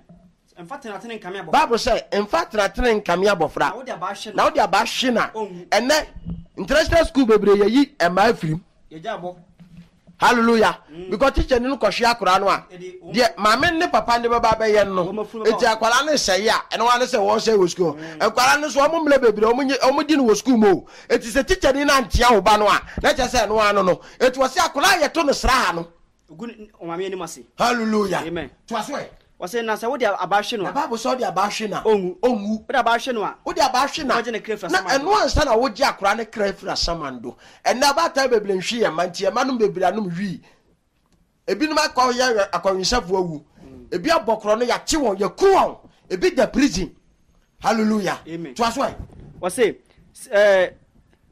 Mfa tenatene nkame abɔfra. Bible sɛ mfa tenatene nkame abɔfra. Na wode abaa hwe no. Na wode abaa hwe na. Ɔnwu. Ɛnɛ international school bebree yɛyi ɛmaa afirim. Yɛgya abɔ. Hallelujah. Because teacher ni no kɔhwe akwaraa no a, Ɛde wɔn- deɛ maame ne papa ne bɛba bɛyɛ no Wɔn no afunu bɛba eti hɔ. akwaraa no sɛe a, ɛno wa ne sɛ wɔn sɛe wɔ school. Nkwaraa no nso, wɔn mmerɛ bebree wɔn nye wɔn di no wɔ school mu o. Eti sɛ teacher ni no antea wo ba no a, na kyerɛ sɛ ɛno ano no eti wɔsi akwaraa yɛto no sra ha no. Ogu ne ɔmaame anim ase. Hallelujah. Amen. To aso ɛ. Wɔsɛ na sɛ wode abaa hwe no Na a, Bible sɛ ɔde abaa hwe na Ɔnwu. Ɔnwu. Wode abaa hwe no a, wode abaa hwe na Wogye ne kra firi na asamando. ɛno ansa na wogye akwaraa ne kra firi asamando. Ɛnɛ abaatan bebree nhwe yɛn ma, nti ɛma nom bebree anom wii. Ebinom akɔ yɛ akɔnwensafo awu, ebi abɔ korɔ no, yɛakye wɔn, yɛku wɔn, ebi da prison. Hallelujah. Amen. To aso ɛ. Wɔse ɛɛ,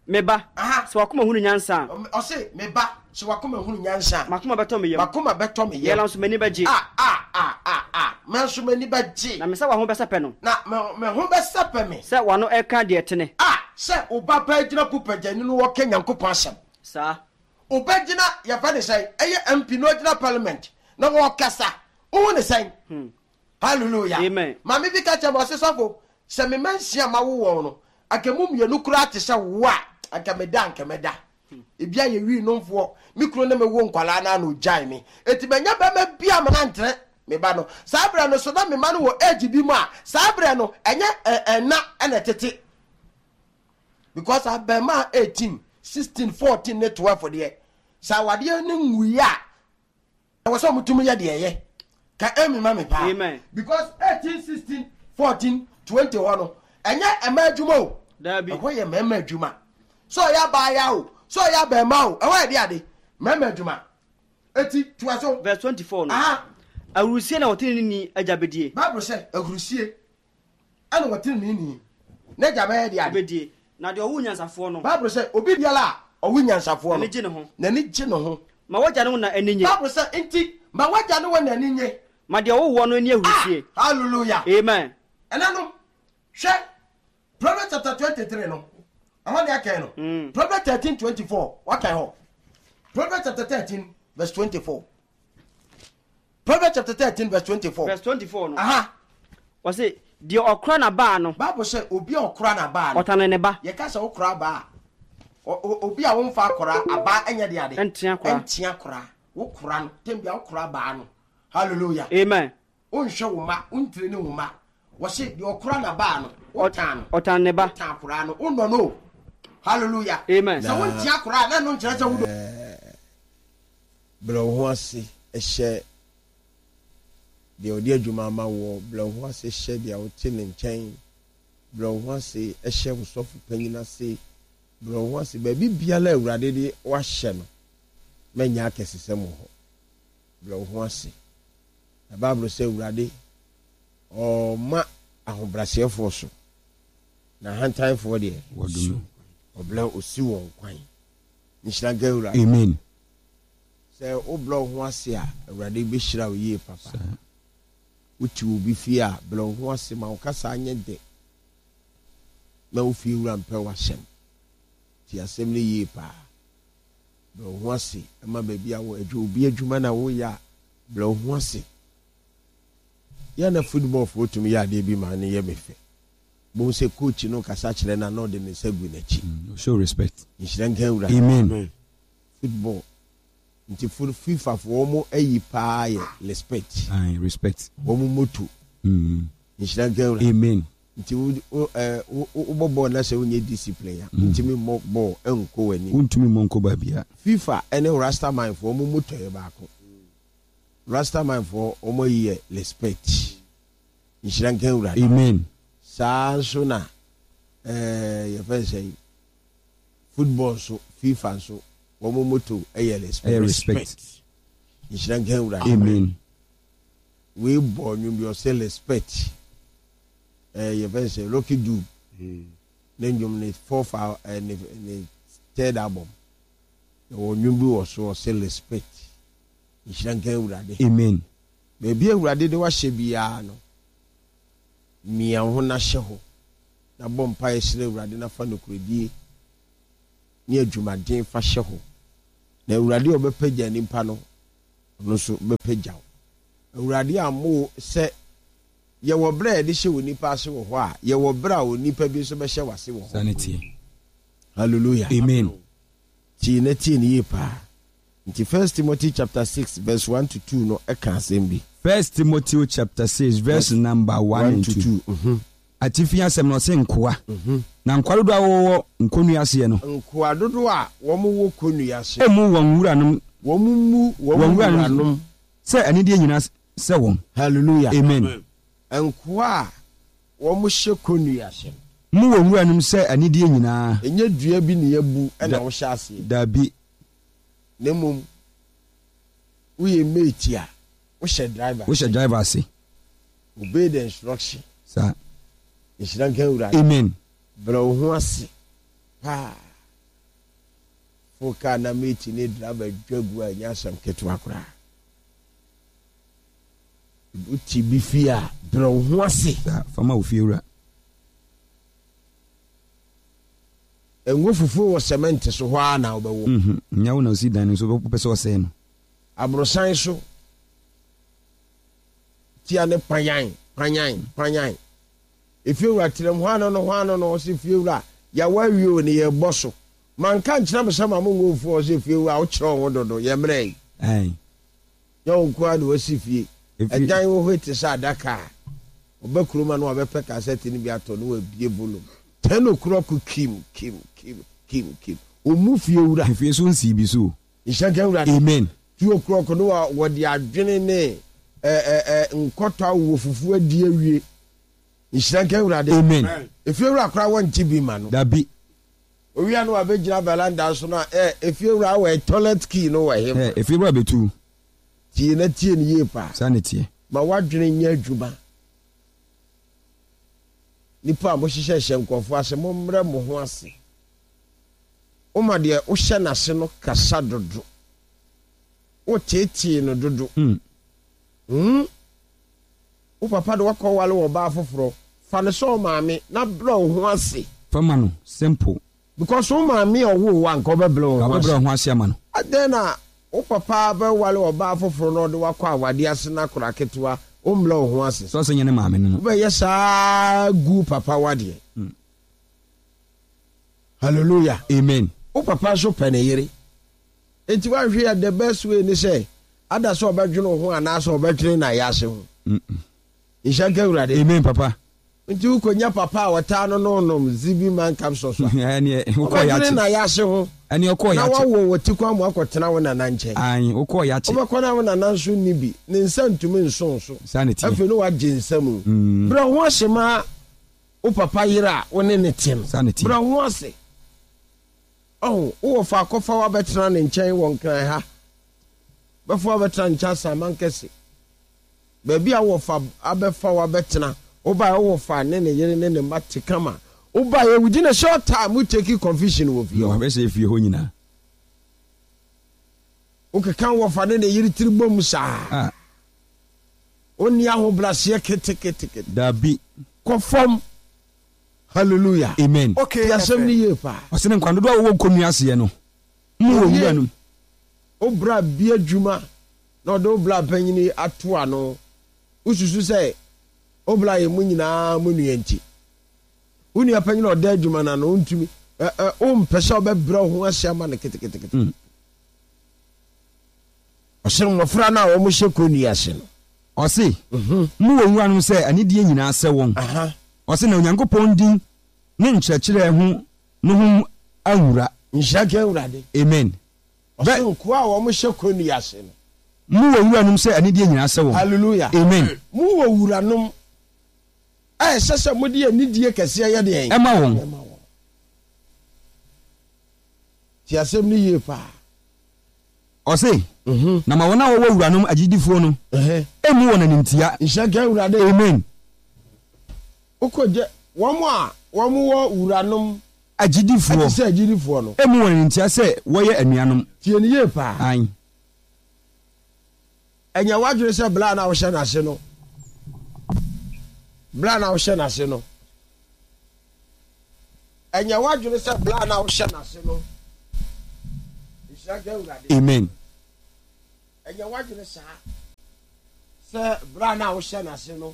me ba, Aha. sɛ wakoma hunu nyansa a, Ɔm- ɔse me ba, sɛ wakoma hunu nyansa a, makoma bɛtɔ me yam. Makoma bɛtɔ me yɛla yam. Nso m'ani bɛgye. A a a a a me nso m'ani bɛgye. Na me sɛ waho bɛsɛpɛ no. Na me me ho bɛsɛpɛ me. Sɛ wano ɛka deɛ tene. A sɛ wo ba paa gyina pulpit no, wɔka Nyankopɔn asɛm. Saa. Wobɛgyina, yɛfɛ ne sɛn, ɛyɛ M P na ɔgyina parliament na wɔkasa, wohu ne sɛn? Hallelujah. Amen. Maame bi ka kyerɛ me, ɔse, "Sɔfo, sɛ mema nsia ma wo wɔn no, anka mu mmienu koraa te sɛ wo a, anka meda, anka mɛda." Ebi ayɛ wii nomfoɔ. Me kunu ne me wo nkwalaa no ana ogyae me, eti manya bɛrima bi a mena me ba no saa berɛ no so na me ma no wɔ age bi mu a, saa berɛ no ɛnyɛ ɛ- ɛna ɛna ɛtete, because abɛɛma eighteen, sixteen, fourteen ne twelve deɛ, sɛ awadeɛ ne nwui a, ɛwɔ sɛ ɔmotumi yɛ deɛ ɛyɛ ka ɛmi ma me paa. Amen. Because eighteen, sixteen, fourteen, twenty hɔ no, ɛnyɛ ɛma adwuma o. Daabi. Ɛhɔ yɛ mmarima adwuma. Sɛ ɔyɛ abaaya o, sɛ ɔyɛ abɛɛma o, ɛhɔ yɛ de ade mmarima adwuma. Eti toa so. Verse twenty-four no, aha awurusie na wɔtene ne ni agya bɛdie. Bible sɛ ahurusie ɛna wɔtene ne ni n'agya bɛyɛ de ade. Bɛdie, na deɛ ɔwo nyansafoɔ no, Bible sɛ obi biara a ɔwo nyansafoɔ no, n'ani gye ne ho. N'ani gye ne ho. Ma wagya ne wo na ani nye. Bible sɛ nti ma wagya ne wɔ n'ani nye. Ma deɛ ɔwo woɔ no ani ahurusie. Ah, hallelujah. Amen. Ɛna no, hwɛ Proverbs chapter twenty three no, ɛhɔ ne akɛn no. Mm. Proverbs thirteen twenty four, wakan hɔ? Proverbs chapter thirteen verse twenty four. Proverbs chapter thirteen verse twenty four. Verse twenty-four no, aha wɔse deɛ ɔkora n'abaa no, Bible sɛ obi a ɔkora n'abaa no, ɔtane ne ba. Yɛka sɛ wokora abaa a, o- o- obi a womfa akora abaa ɛnyɛ de ade. Ɛntea koraa. Ɛntea koraa. Wokora no tem bia, wokora abaa no. Hallelujah. Amen. Wonhwɛ wo ma, wontire ne wo ma. Wɔse deɛ ɔkora n'abaa no, wotan no. Ɔtane ne ba. Wotan koraa no, wonnɔ no o. Hallelujah. Amen. Sɛ wontia koraa na ɛno nkyerɛ sɛ wodɔ. Brɛ wo ho ase hyɛ deɛ ɔde adwuma ama woɔ. Brɛ wo ho ase hyɛ deɛ wote ne nkyɛn. Brɛ wo ho ase hyɛ wo sɔfo panyin ase. Brɛ wo ho ase baabi biara a Awurade de wahyɛ no. Mɛnyɛ akɛsesɛm wɔ hɔ. Brɛ wo ho ase, na Bible sɛ Awurade ɔma ahobrɛaseɛfoɔ so, na ahantanfoɔ deɛ, wɔdome. Ɔbrɛ osi wɔn kwan. Nhyira nka Awurade. Amen. Sɛ wobrɛ wo ho ase a, Awurade bɛhyira wo yie papa. Saa. Wote obi fie a, brɛ wo ho ase ma wo kasa nyɛ dɛ na wo fie wura mpɛ w'asɛm. Ti asɛm no yie paa. Brɛ wo ho ase ma baabi a wɔ adwu obi adwuma na woyɛ a, brɛ wo ho ase. Yɛ na footballfoɔ tumi yɛ adeɛ bi ma no yɛ me fɛ. Bohu sɛ coach no kasa kyerɛ no a, na ɔde ne nsa gu n'akyi. Mm, show respect. Nhyira nka Awurade. Amen. Football nti fo FIFA foɔ wɔn ayi paa yɛ respect. Aye, respect. Wɔn motto. Mm. Nhyira nka Awurade. Amen. Nti wo wo ɛɛ wo wobɔ bɔɔl na sɛ wonyɛ discipline a, ntumi mmɔ bɔɔl ɛnkɔ w'anim. Wontumi mmɔ nkɔ baabia. FIFA ɛne Rastaman foɔ wɔn motto yɛ baako. Rastaman foɔ wɔn ayi yɛ respect. Nhyira nka Awurade. Amen. Saa nso na ɛɛ yɛfɛ sɛ football nso, FIFA nso wɔn motto ɛyɛ respect. Ɛyɛ respect. Nhyira nka Awurade. Amen. Wei bɔ nnwom bi, ɔsɛ respect. Ɛɛ yɛfɛ sɛ Lucky Dube ne nnwom, ne fourth al ɛɛ ne ne third album. Yɛwɔ nnwom bi wɔ so, ɔse respect. Nhyira nka Awurade. Amen. Baabi a Awurade de wahyɛ biara no, mia wo ho na hyɛ hɔ, na bɔ mpaeɛ srɛ Awurade na fa nokorɛdie ne adwumaden fa hyɛ hɔ. Na Awurade a ɔbɛpagya nipa no, ɔno nso bɛpagya wo. Awurade ammɔ wo sɛ yɛwɔ berɛ a yɛde hyɛ onipa ase wɔ hɔ a, yɛwɔ berɛ a onipa bi nso bɛhyɛ w'ase wɔ Saa hɔ. ne teɛ. Hallelujah. Amen. Tie na tie no yie paa. Nti First Timothy chapter six verse one to two no ɛka asɛm bi. First Timothy chapter six verse number one One and to two. two. Mhm. Atifi asɛm no ɔse nkoa. Na nkoa dodoɔ a wɔwɔ nkonnua aseɛ no, Nkoa dodoɔ a wɔn wɔ kɔnnua ase. Ɛmmu wɔn wuranom Wɔn mu wɔn wɔn wuranom wuranom. sɛ anidie nyinaa sɛ wɔn. Hallelujah. Amen. Nkoa a wɔn hyɛ kɔnnua ase no, Mu wɔn wuranom sɛ anidie nyinaa. Ɛnyɛ dua bi ne yɛbu ɛna Da- wohyɛ aseɛ. Dabi. Na mmom woyɛ mate a, wohyɛ driver. Wohyɛ driver ase. Obey the instruction. Saa. Nhyira nka Awurade. Amen. Brɛ wo ho ase paa. Fo kaa na mate ne driver dwa gu a, ɛnyɛ asɛm ketewa koraa. Wote bi fie a, brɛ wo ho ase. Saa, fama wo fie wura. Ngo fufuo wɔ cement so hɔ ara na wobɛwɔ. Mhm. Nyɛ wo na osi dan no so wopɛ sɛ ɔsɛe no. Aborosan so tia ne panyan panyan panyan. Efiewura tenam hɔ ano no hɔ ano no, ɔsɛ fiewura yɛwɔ awie o ne yɛbɔ so. Manka nkyerɛ mo sɛ ma mo ngo fufuo, ɔsɛ fiewura wokyerɛ wo ho dodo, yɛ mmerɛ yi. Ae. Nyɛ wo nko ara na wasi fie. Efie- Ɛdan wɔ hɔ te sɛ adaka a ɔbɛ kurom a na wabɛpɛ cassette no bi atɔ na wabie volume ten o'clock, kim kim kim kim kim, ɔmu fiewura. Efie so nsii bi so o. Nhyɛ nka Awurade. Amen. Two o'clock no wa wɔde adwene ne ɛ ɛ ɛ nkɔtɔ awowɔ fufuo adi awie. Nhyira nka Awurade. Amen. Efiewura koraa wɔnte bi ma no. Dabi. Owia no wabɛgyina veranda so no a, ɛ efiewura wɔ toilet key no wɔ Ɛ he? Efie wura bɛtu. Tie na tie no yie paa. Saa ne teɛ. Ma wadwene nyɛ adwuma. Nipa a mohyehyɛhyɛ nkurɔfoɔ ase, mommrɛ mo ho ase. Woma deɛ wohyɛ n'ase no kasa dodo, woteetee no dodo. Mm. Hmm? Wo papa de wakɔ wale wɔ ɔbaa foforɔ, fa ne sɛ ɔmaame na brɛ wo ho ase. Fama no simple. Because wo maame a ɔwoo wo anka wobɛbrɛ wo ho Wobɛbrɛ ase. wo ho ase ama no. Adɛn na wo papa bɛwale ɔbaa foforɔ na ɔde wakɔ awadeɛ ase na akora ketewa, wombrɛ wo ho ase? Sɛ ɔsɛ nyɛ ne maame no no. Wobɛyɛ saa gu papa wadeɛ. Mm. Hallelujah. Amen. Wo papa nso pɛ ne yere, enti woanhwɛ yɛ, the best way ne sɛ ada sɛ ɔbɛdwene wo ho anaasɛ ɔbɛdwene na yɛ ase ho. Mm. Nhyɛ nka Awurade. Amen, papa. Nti wokɔnya papa a wɔtaa no no nom zibi man capsules a, Ɛneɛ wokɔɔ ɔbɛdwene yɛakye. na yɛ ase ho. Ɛneɛ ɔkɔɔ Na yɛakye. woawo wɔ ti kwan mu akɔtena wo nana nkyɛn. Ae, wokɔɔ yɛakye. Wobɛkɔ na wo nana nso nni bi, ne nsa ntumi nso so. Saa ne teɛ. Afei ne wagye nsa mu. Mm. Brɛ ho ase ma wo papa yere a wo ne ne te no. Saa ne teɛ. Brɛ ho ase. Ɔho wowɔ fa akɔfa wabɛtena ne nkyɛn wɔ Nkran ha, bɛfa wabɛtena ne nkyɛn Asaman kɛse, baabi a wowɔ fa abɛfa wabɛtena. Wobaeɛ, wowɔ fa ne ne yere ne ne mma te kama. Wobaeɛ, within a short time wo take confusion wɔ fie hɔ. Wabɛsɛ fie hɔ nyinaa. Wokeka wɔ fa ne ne yere tiri bom saa. Ah. Wonni ahobraseɛ ketekete. Dabi. Kɔ fam. Hallelujah. Amen. Okay. Ti asɛm no yie paa. Ɔsɛ ne nkwa dodoɔ a wɔwɔ nkonnua aseɛ no mu wɔ Oye. wura no. Wo bra bi adwuma na ɔde wo bra panyini ato ano, wosusu sɛ wo bra yɛ mu nyinaa mu nua, nti wo nua panyin a ɔda adwuma no ano, wontumi ɛ ɛ wompɛ sɛ ɔbɛbrɛ wo ho ase ama no ketekete. Mm. Ɔsɛ mmɔfra no a wɔn hyɛ kɔnnua ase no. Ɔse mu wɔ wuranom sɛ anidie nyinaa sɛ wɔn. Aha. Ɔse na Onyankopɔn din ne nkyerɛkyerɛ ho no ho anwura. Nhyira nka Awurade. Amen. Ɔsɛ nkoa a wɔn hyɛ kɔnnua ase no. Mu wɔ wuranom sɛ anidie nyinaa sɛ wɔn. Hallelujah. Amen. Mu wɔ wuranom a ɛsɛ sɛ mode anidie kɛseɛ yɛ deɛn? Ɛma wɔn. Ɛma wɔn. Ti asɛm no yie paa. Ɔse na ma wɔn a wɔwɔ wuranom agyidifoɔ no Ɛhɛ. ɛmmu wɔn animtia. Nhyira nka Awurade. Amen. Wokɔgye wɔn a wɔn wɔ wuranom. Agyidifoɔ. Ɛte sɛ agyidifoɔ no. Mmu wɔn animtia sɛ wɔyɛ anuanom. Tie no yie paa. Aane. Ɛnyɛ w'adwene sɛ berɛ a na wohyɛ n'ase no, berɛ a na wohyɛ n'ase no, ɛnyɛ w'adwene sɛ berɛ a na wohyɛ n'ase no, nhyira nka Awurade. Amen. Ɛnyɛ w'adwene saa sɛ berɛ a na wohyɛ n'ase no,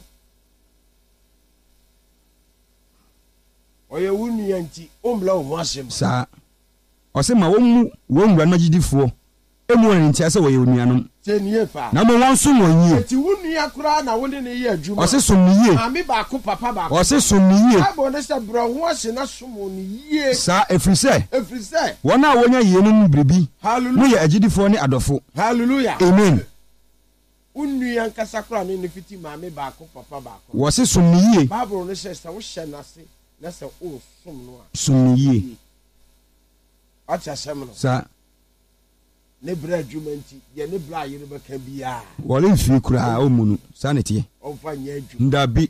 ɔyɛ wo nua nti, wommrɛ wo ho ase ma. Saa. Ɔse ma wɔmmu wɔn wuranom agyidifoɔ mmu wɔn animtia sɛ wɔyɛ onuanom, Tie nie paa. na mmom wɔnsom wɔn yie. Enti wo nua koraa na wo ne no yɛ adwuma. Ɔse som no yie. Maame baako, papa baako. Ɔse som no yie. Bible no sɛ brɛ wo ho ase na som wɔn yie. Saa, ɛfiri sɛ. Ɛfiri sɛ. Wɔn a wɔnya yeinom mu biribi Hallelujah. no yɛ agyidifoɔ ne adɔfo. Hallelujah. Amen. Wo nua ankasa koraa ne no fiti maame baako, papa baako no. Wɔse som no yie. Bible no sɛ sɛ wohyɛ no ase na sɛ woresom no a. Som no yie. Wate asɛm no? Saa. Ne berɛ adwuma nti, deɛ ne bra yere bɛka biara. Wɔremfiri koraa, ɔmmu no. Saa na ɛteɛ. Ɔmfa nyɛ adwuma. Dabi.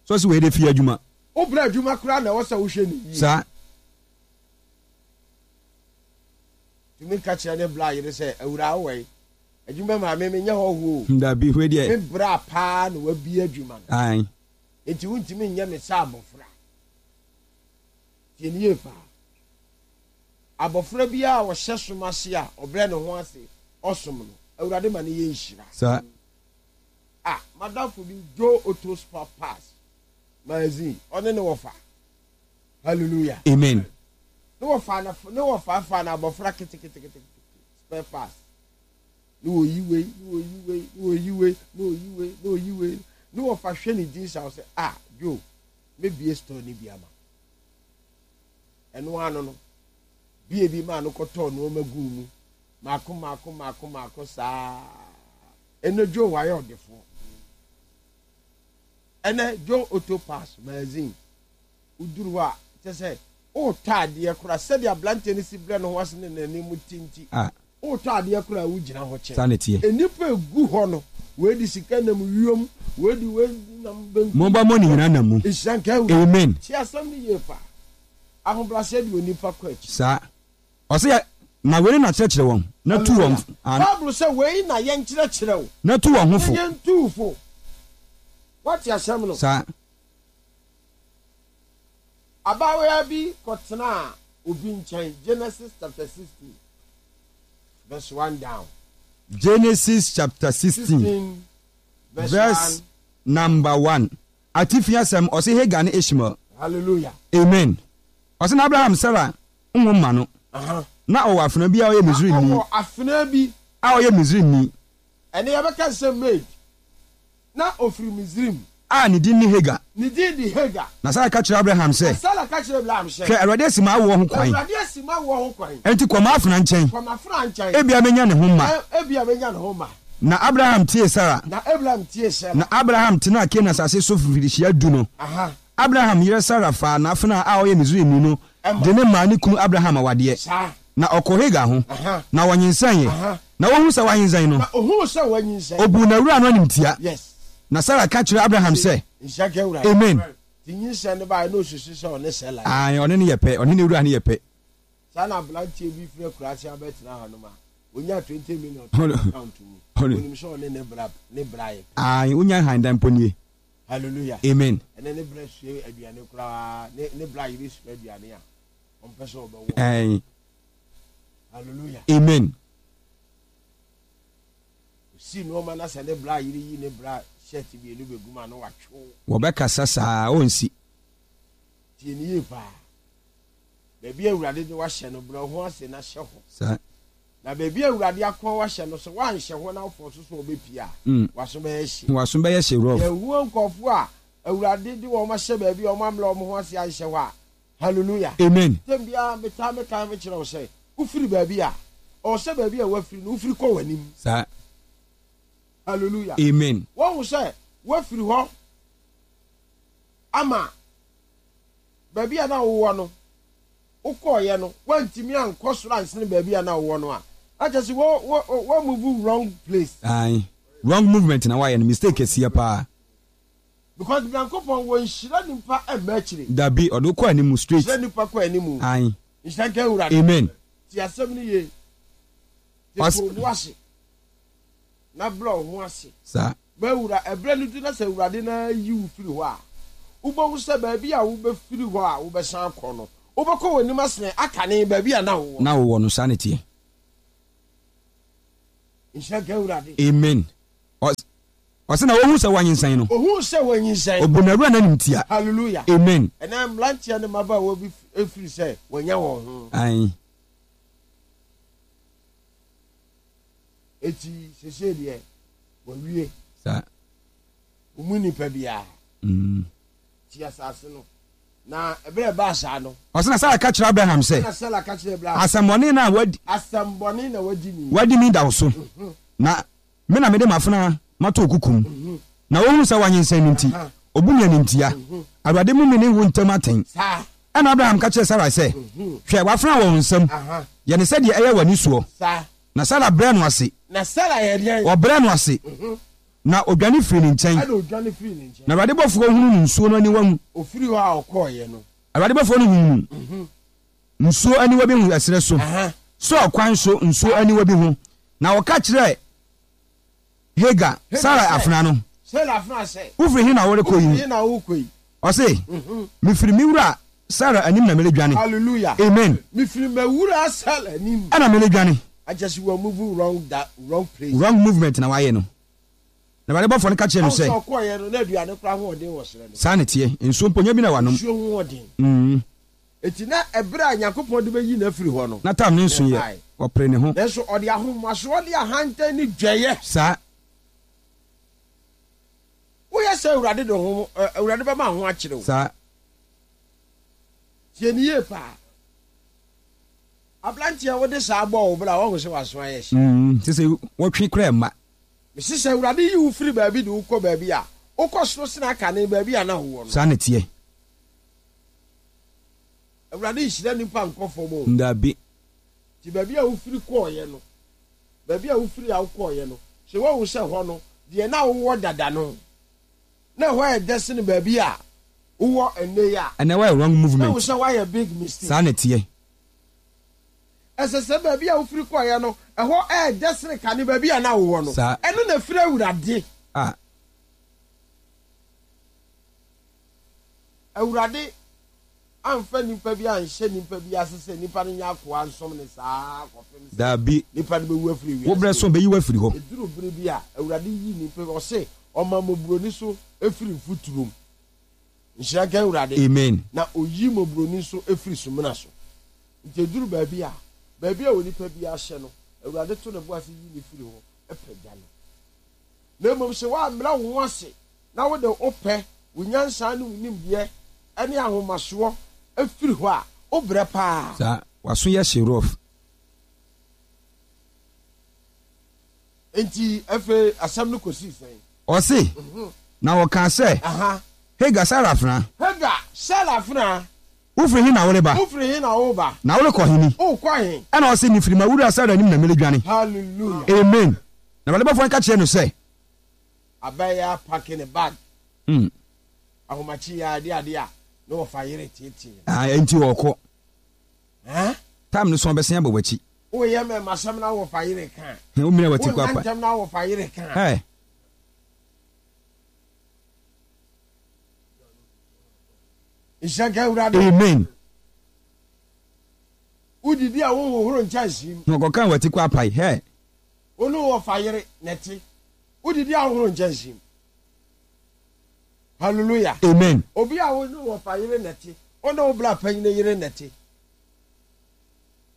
Sɛ ɔse wei de fie adwuma. Wo brɛ adwuma koraa na ɛwɔ sɛ wohwɛ no yie. Saa. Tumi ka kyerɛ ne bra yere sɛ, Awuraa wowɔ he? Adwuma maa me, menyɛ hɔhoɔ o. Dabi, wei deɛ. Me bra paa na wabue adwuma no. Ae. Enti wontumi nyɛ me sɛ abɔfra. Tie no yie paa. Abɔfra biara a ɔhyɛ som ase a ɔbrɛ ne ho ase ɔsom no, Awurade ma no yɛ nhyira. Saa. Ah, m'adamfo bi, Joe Otto Spar Pass magazine, ɔne ne wɔfa. Hallelujah. Amen. Ne wɔfa na ne wɔfa fa na abɔfra keteketekete spare pass. Ne wɔyi wei, ne wɔyi wei, ne wɔyi wei, ne wɔyi wei, ne wɔyi wei. Ne wɔfa hwɛ ne din sa sɛ, ah, Joe, mebie store ne bi ama. Ɛno ano no, bie bi maa no kɔtɔɔ nneɛma guu mu mako mako mako mako saa. Ɛnɛ Joe wayɛ ɔdefoɔ. Ɛnɛ Joe Auto Pass magazine woduru hɔ a kyɛ sɛ wotɔ adeɛ koraa sɛdeɛ aberanteɛ no si brɛ ne ho ase ne n'anim ti nti Ah. wotɔ adeɛ koraa wogyina hɔ kyɛ. Saa na ɛteɛ. Nnipa egu hɔ no, wei de sika nam wiem, wei de wei nam benkum. Momma mo ne nyinaa nam mu. Nhyira nka Awurade. Amen. Tie asɛm no yie paa. Ahobrɛaseɛ de onipa kɔ akyi. Saa. Ɔse yɛ, na wei na kyerɛkyerɛ wɔn, na tu wɔn, Hallelujah. ah. Bible sɛ wei na yɛnkyerɛkyerɛ wo. Na tu wɔn ho fo. Na yɛntu wo fo. Woate asɛm no? Saa. Abaayewa bi kɔtenaa obi nkyɛn, Genesis chapter sixteen verse one down. Genesis chapter sixteen Sixteen verse verse one. number one. Atifi asɛm, ɔse Hagar ne Ishmael. Hallelujah. Amen. Ɔse na Abraham Sarah nwo mma no. Aha. Na ɔwɔ afenaa bi a ɔyɛ Na Misraimni. ɔwɔ afenaa bi. A ɔyɛ Misraimni. Ɛnɛ yɛbɛka sɛ maid. Na ɔfiri Misraim. A ne din ne Hagar. Ne din de Hagar. Na Sara ka kyerɛɛ Abraham sɛ. Na Sara ka kyerɛɛ Abraham sɛ. Hwɛ, Awurade asi m'awoɔ ho kwan. Awurade asi m'awoɔ ho kwan. Enti kɔ m'afenaa nkyɛn. Kɔ m'afenaa nkyɛn. Ebia mɛnya ne ho mma. Ebia mɛnya ne ho mma. Na Abraham tiee Sara. Na Abraham tiee Sara. Na Abraham tenaa Kanaan asase so mfirihyia du no, Aha. Abraham yere Sara faa n'afenaa a ɔyɛ Misraimni no de no maa ne kunu Abraham awadeɛ. Saa. Na ɔkɔɔ Hagar ho, Aha. na wɔnyinsɛneeɛ. Aha. Na ɔhuu sɛ wanyinsɛn no, Na ɔhuu sɛ wanyinsɛn. ɔbuu n'awuraa no animtia. Yes. Na Sara ka kyerɛɛ Abraham sɛ, Nhyira nka Awurade. Amen. Nti nyinsɛn no baeɛ na ɔsusu sɛ ɔne Sara yɛ. Aane, ɔne no yɛ pɛ, ɔne n'awuraa no yɛ pɛ. Saa na abranteɛ bi firi akuraase abɛtena hanom a ɔnya twenty million to n'account mu. Ɔnim sɛ ɔne ne bra ne bra yɛ pɛ. Aane, wonya hann mpo nie. Hallelujah. Amen. Ɛnɛ ne bra sua aduane koraa, ne ne bra yere sua aduane a, ɔmpɛ sɛ ɔbɛwɔ. Aane. Hallelujah. Amen. Osi nneɛma na sɛ ne bra yere yi ne bra shirt mmienu bɛgu mu a na watwe. Wɔbɛkasa saa, ɔnsi. Tie ne yie paa. Baabi a Awurade de wahyɛ no, brɛ wo ho ase na hyɛ hɔ. Saa. Na baabi a Awurade akoa wahyɛ no, sɛ woanhyɛ hɔ na wofɔ so sɛ ɔbɛpie a, Mm. w'aso bɛyɛ hye. W'aso bɛyɛ hye rough. Yɛhu nkurɔfoɔ a Awurade de wɔn ahyɛ baabi a wɔn ammrɛ wɔn ho ase anhyɛ hɔ a, hallelujah. Amen. Tɛm biara metaa meka mekyerɛ wo sɛ, wofiri baabi a, ɔwɔ sɛ baabi a woafiri no, wofiri kɔ w'anim. Saa. Hallelujah. Amen. Woahu sɛ woafiri hɔ ama baabi a na wowɔ no, wokɔɔyɛ no, woantumi ankɔ soro ansene baabi a na wowɔ no a, na kyerɛ sɛ wo wo wo move wrong place. Ae. Wrong movement na wayɛ no, mistake kɛseɛ paa. Because Nyankopɔn wɔ nhyira nipa mma akyire. Dabi, ɔde wo kɔ animu straight. Hyira nipa kɔ animu. Ae. Nhyira nka Awurade. Amen. Tie asɛm no yie. Te to wo bo ase na brɛ wo ho ase. Saa. Ma Awura, ɛberɛ no du na sɛ Awurade no ara yi wo firi hɔ a, wobɛhu sɛ baabi a wobɛfiri hɔ a wobɛsan akɔ no, wobɛkɔ w'anim asene akane baabi a na wowɔ. Na wowɔ no, saa na ɛteɛ. Nhyira nka Awurade. Amen. Ɔse na ohuu sɛ wanyinsɛn no. Ohuu sɛ wanyinsɛn. Obu n'awura no animtia. Hallelujah. Amen. Ɛnɛ mmeranteɛ ne mmabaawa bi firi sɛ wɔanya wɔn ho. Ae. Eti sesei deɛ wɔawie. Saa. Wɔn nipa biara. Mm. Ti asase no. Na ɛberɛ ɛbaa saa no. Ɔse na Sara ka kyerɛ Abraham sɛ. Ɛna Sara ka kyerɛ Abraham. Asɛmmɔne na wadi. Asɛmmɔne na wadi mi. Wadi mi da wo so. Mm-hmm. Na me na mede m'afenaa mato wo kokom. Na ohuu sɛ wanyinsɛn no nti, obu me animtia. Awurade mmu me ne wo ntam atɛn. Ɛnna Abraham ka kyerɛɛ Sarai sɛ, Hwɛ, w'afenaa wɔ wo nsam. Yɛ no sɛdeɛ ɛyɛ w'ani soɔ. Na Sara brɛɛ no ase. Ɔbrɛɛ no ase, na ɔdwane firii ne nkyɛn. Na Awurade bɔfoɔ hunuu no nsuo no aniwa mu. Awurade bɔfoɔ no hunuu no nsuo aniwa bi ho ɛserɛ so, Sur kwan so nsuo aniwa bi ho. Na ɔka kyerɛɛ Hagar, Sarai afenaa no, Wofiri he na worekɔ yi? Ɔse, Mefiri me wura Sara anim na meredwane. Amen. Ɛna meredwane. Wrong movement na wayɛ no. Na Awurade bɔfoɔ no ka kyerɛɛ no sɛ, Saa na ɛteɛ, nsuo mpo nya bi na wanom. Mm. Enti na ɛberɛ a Nyankopɔn de bɛyi no afiri hɔ no, Na tam ne nso yɛ, ɛbaeɛ. Ɔpere ne ho. Nanso ɔde ahomasoɔ ne ahantan ne dwɛeɛ. Saa. Woyɛ sɛ Awurade de ho, ɛ, Awurade bɛma ho akyere wo. Saa. Tie no yie paa. Aberanteɛ wode saa bɔɔ wo bra a, woahu sɛ w'aso ayɛ hye. Mm, te sɛ wɔtwe koraa mma. Mese sɛ Awurade yi wo firi baabi de wo kɔ baabi a, wokɔ soro sene akane baabi a na wowɔ no. Saa na ɛteɛ. Awurade nhyira nipa nkɔ fam o. Dabi. Nti baabi a wofiri kɔɔeɛ no, baabi a wofiri a wokɔɔeɛ no, sɛ woahu sɛ hɔ no, deɛ na wowɔ dada no, na ɛhɔ yɛ dɛ sene baabi a wowɔ ɛnnɛ yi a. Ɛnɛ woayɛ wrong movement. Na wohu sɛ woayɛ big mistake. Saa na ɛteɛ. Ɛsɛ sɛ baabi a wofiri kɔɔeɛ no, ɛhɔ yɛ dɛ sene kane baabi a na wowɔ no. Saa. Ɛno na ɛfiri Awurade. Ah. Awurade amfa nnipa bi anhyɛ nnipa bi ase sɛ nnipa no nyɛ akoa nsom no saa ara kɔpem sɛ Dabi. nnipa no bɛwu afiri Wo wiase berɛ so ɔbɛyi wo afiri hɔ. Ɛduru bere bi a, Awurade yi nnipa bi, ɔse, ɔma mmɔborɔni so firi mfuturo mu. Nhyira nka Awurade. Amen. Na ɔyi mmɔborɔni nso firi sumina so. Nti ɛduru baabi a, baabi a onipa biara hyɛ no, Awurade to ne bo ase yi no firi hɔ pagya no. Na mmom sɛ woammrɛ wo ho ase na wode wo pɛ, wo nyansa ne wo nimdeɛ ne ahomasoɔ firi hɔ a, wobrɛ paa. Saa, w'aso yɛ hye rough. Enti afei asɛm no kɔsii sɛn? Ɔse, na ɔkaa sɛ, Hagar, Sara afenaa. Hagar, Sara afenaa. Wofiri he na woreba? Wofiri he na woreba? Na worekɔ he ni? Worekɔ he? Ɛnna ɔse, Mefiri m'awuraa Sara anim na meredwane. Hallelujah. Amen. Na Awurade bɔfoɔ no ka kyerɛɛ no sɛ. Abɛyɛ apake ne bag. Mm. Ahomakye yi ara de adeɛ a na wɔfa yere teetee no. Ah, enti ɔɔkɔ. Huh? Time no so ɔbɛsen abɔ w'akyi. Woyɛ mɛmasɛm na wɔfa yere ka a. He, womia w'ati kɔ apa. Wonna ntɛm na wɔfa yere ka a. Hey. Nhyira nka Awurade. Amen. Wodidi a wonhohoro nkyɛnsee mu. Na ɔkɔka w'ati kɔ apae. Hey. Wo ne wɔfa yere na ɛte. Wodidi a wohoro nkyɛnsee mu. Hallelujah. Amen. Obi a wo ne wɔfa yere na ɛte. Wo ne wo bra panyin yere na ɛte.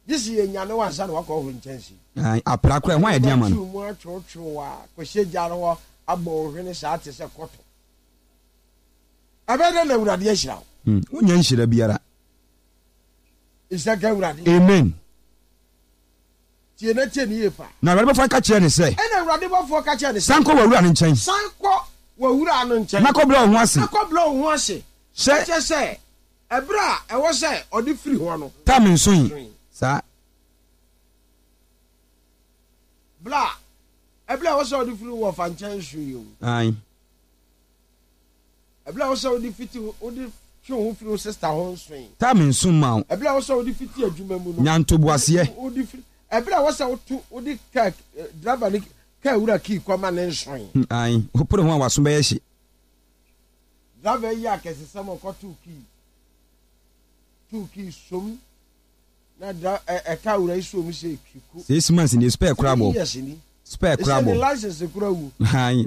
Gye sɛ yɛnyane wo ansa na woakɔhoro nkyɛnsee mu. Ae, apra koraa, ɛho ayɛ den ama no. Wobɛtwiw mu atwewtwew a kɔhyɛ gya no hɔ abɔ wo hwene saa te sɛ kɔtɔ. Ɛbɛyɛ dɛn na Awurade ahyira wo? Hmm, wonnya nhyira biara. Nhyira nka Awurade. Amen. Tie na tie no yie paa. Na Awurade bɔfoɔ no ka kyerɛɛ no sɛ. Ɛnna Awurade bɔfoɔ ka kyerɛɛ no sɛ. San kɔ w'awura no nkyɛn. San kɔ w'awura no nkyɛn. Na kɔbrɛ wo ho ase. Na kɔbrɛ wo ho ase. Sɛ. Kyerɛ sɛ, ɛberɛ a ɛwɔ sɛ ɔde firi hɔ no. Tam nsoe. Saa. Berɛ a, ɛberɛ a ɛwɔ sɛ ɔde firi wɔfa nkyɛn nsoe o. Ae. Ɛberɛ a wosɛ wode fiti wode twe wo ho firi wo sister ho nsoe. Time nso mma wo. Ɛberɛ a wosɛ wode fiti adwuma mu no. Nya ntoboaseɛ. Wode firi ɛberɛ a wosɛ woto wode kaa driver ne kaa wura kii kɔma ne nsoe. Ae, wopere ho a w'aso bɛyɛ hye. Driver yi akɛsesɛm ɔkɔtoo kii too kii som na dra ɛ ɛka wura yi som sɛ twiku. Six months nie, spare koraa bɔ. Three years ni. Spare koraa Ɛsɛ bɔ. ne license koraa wu. Ae.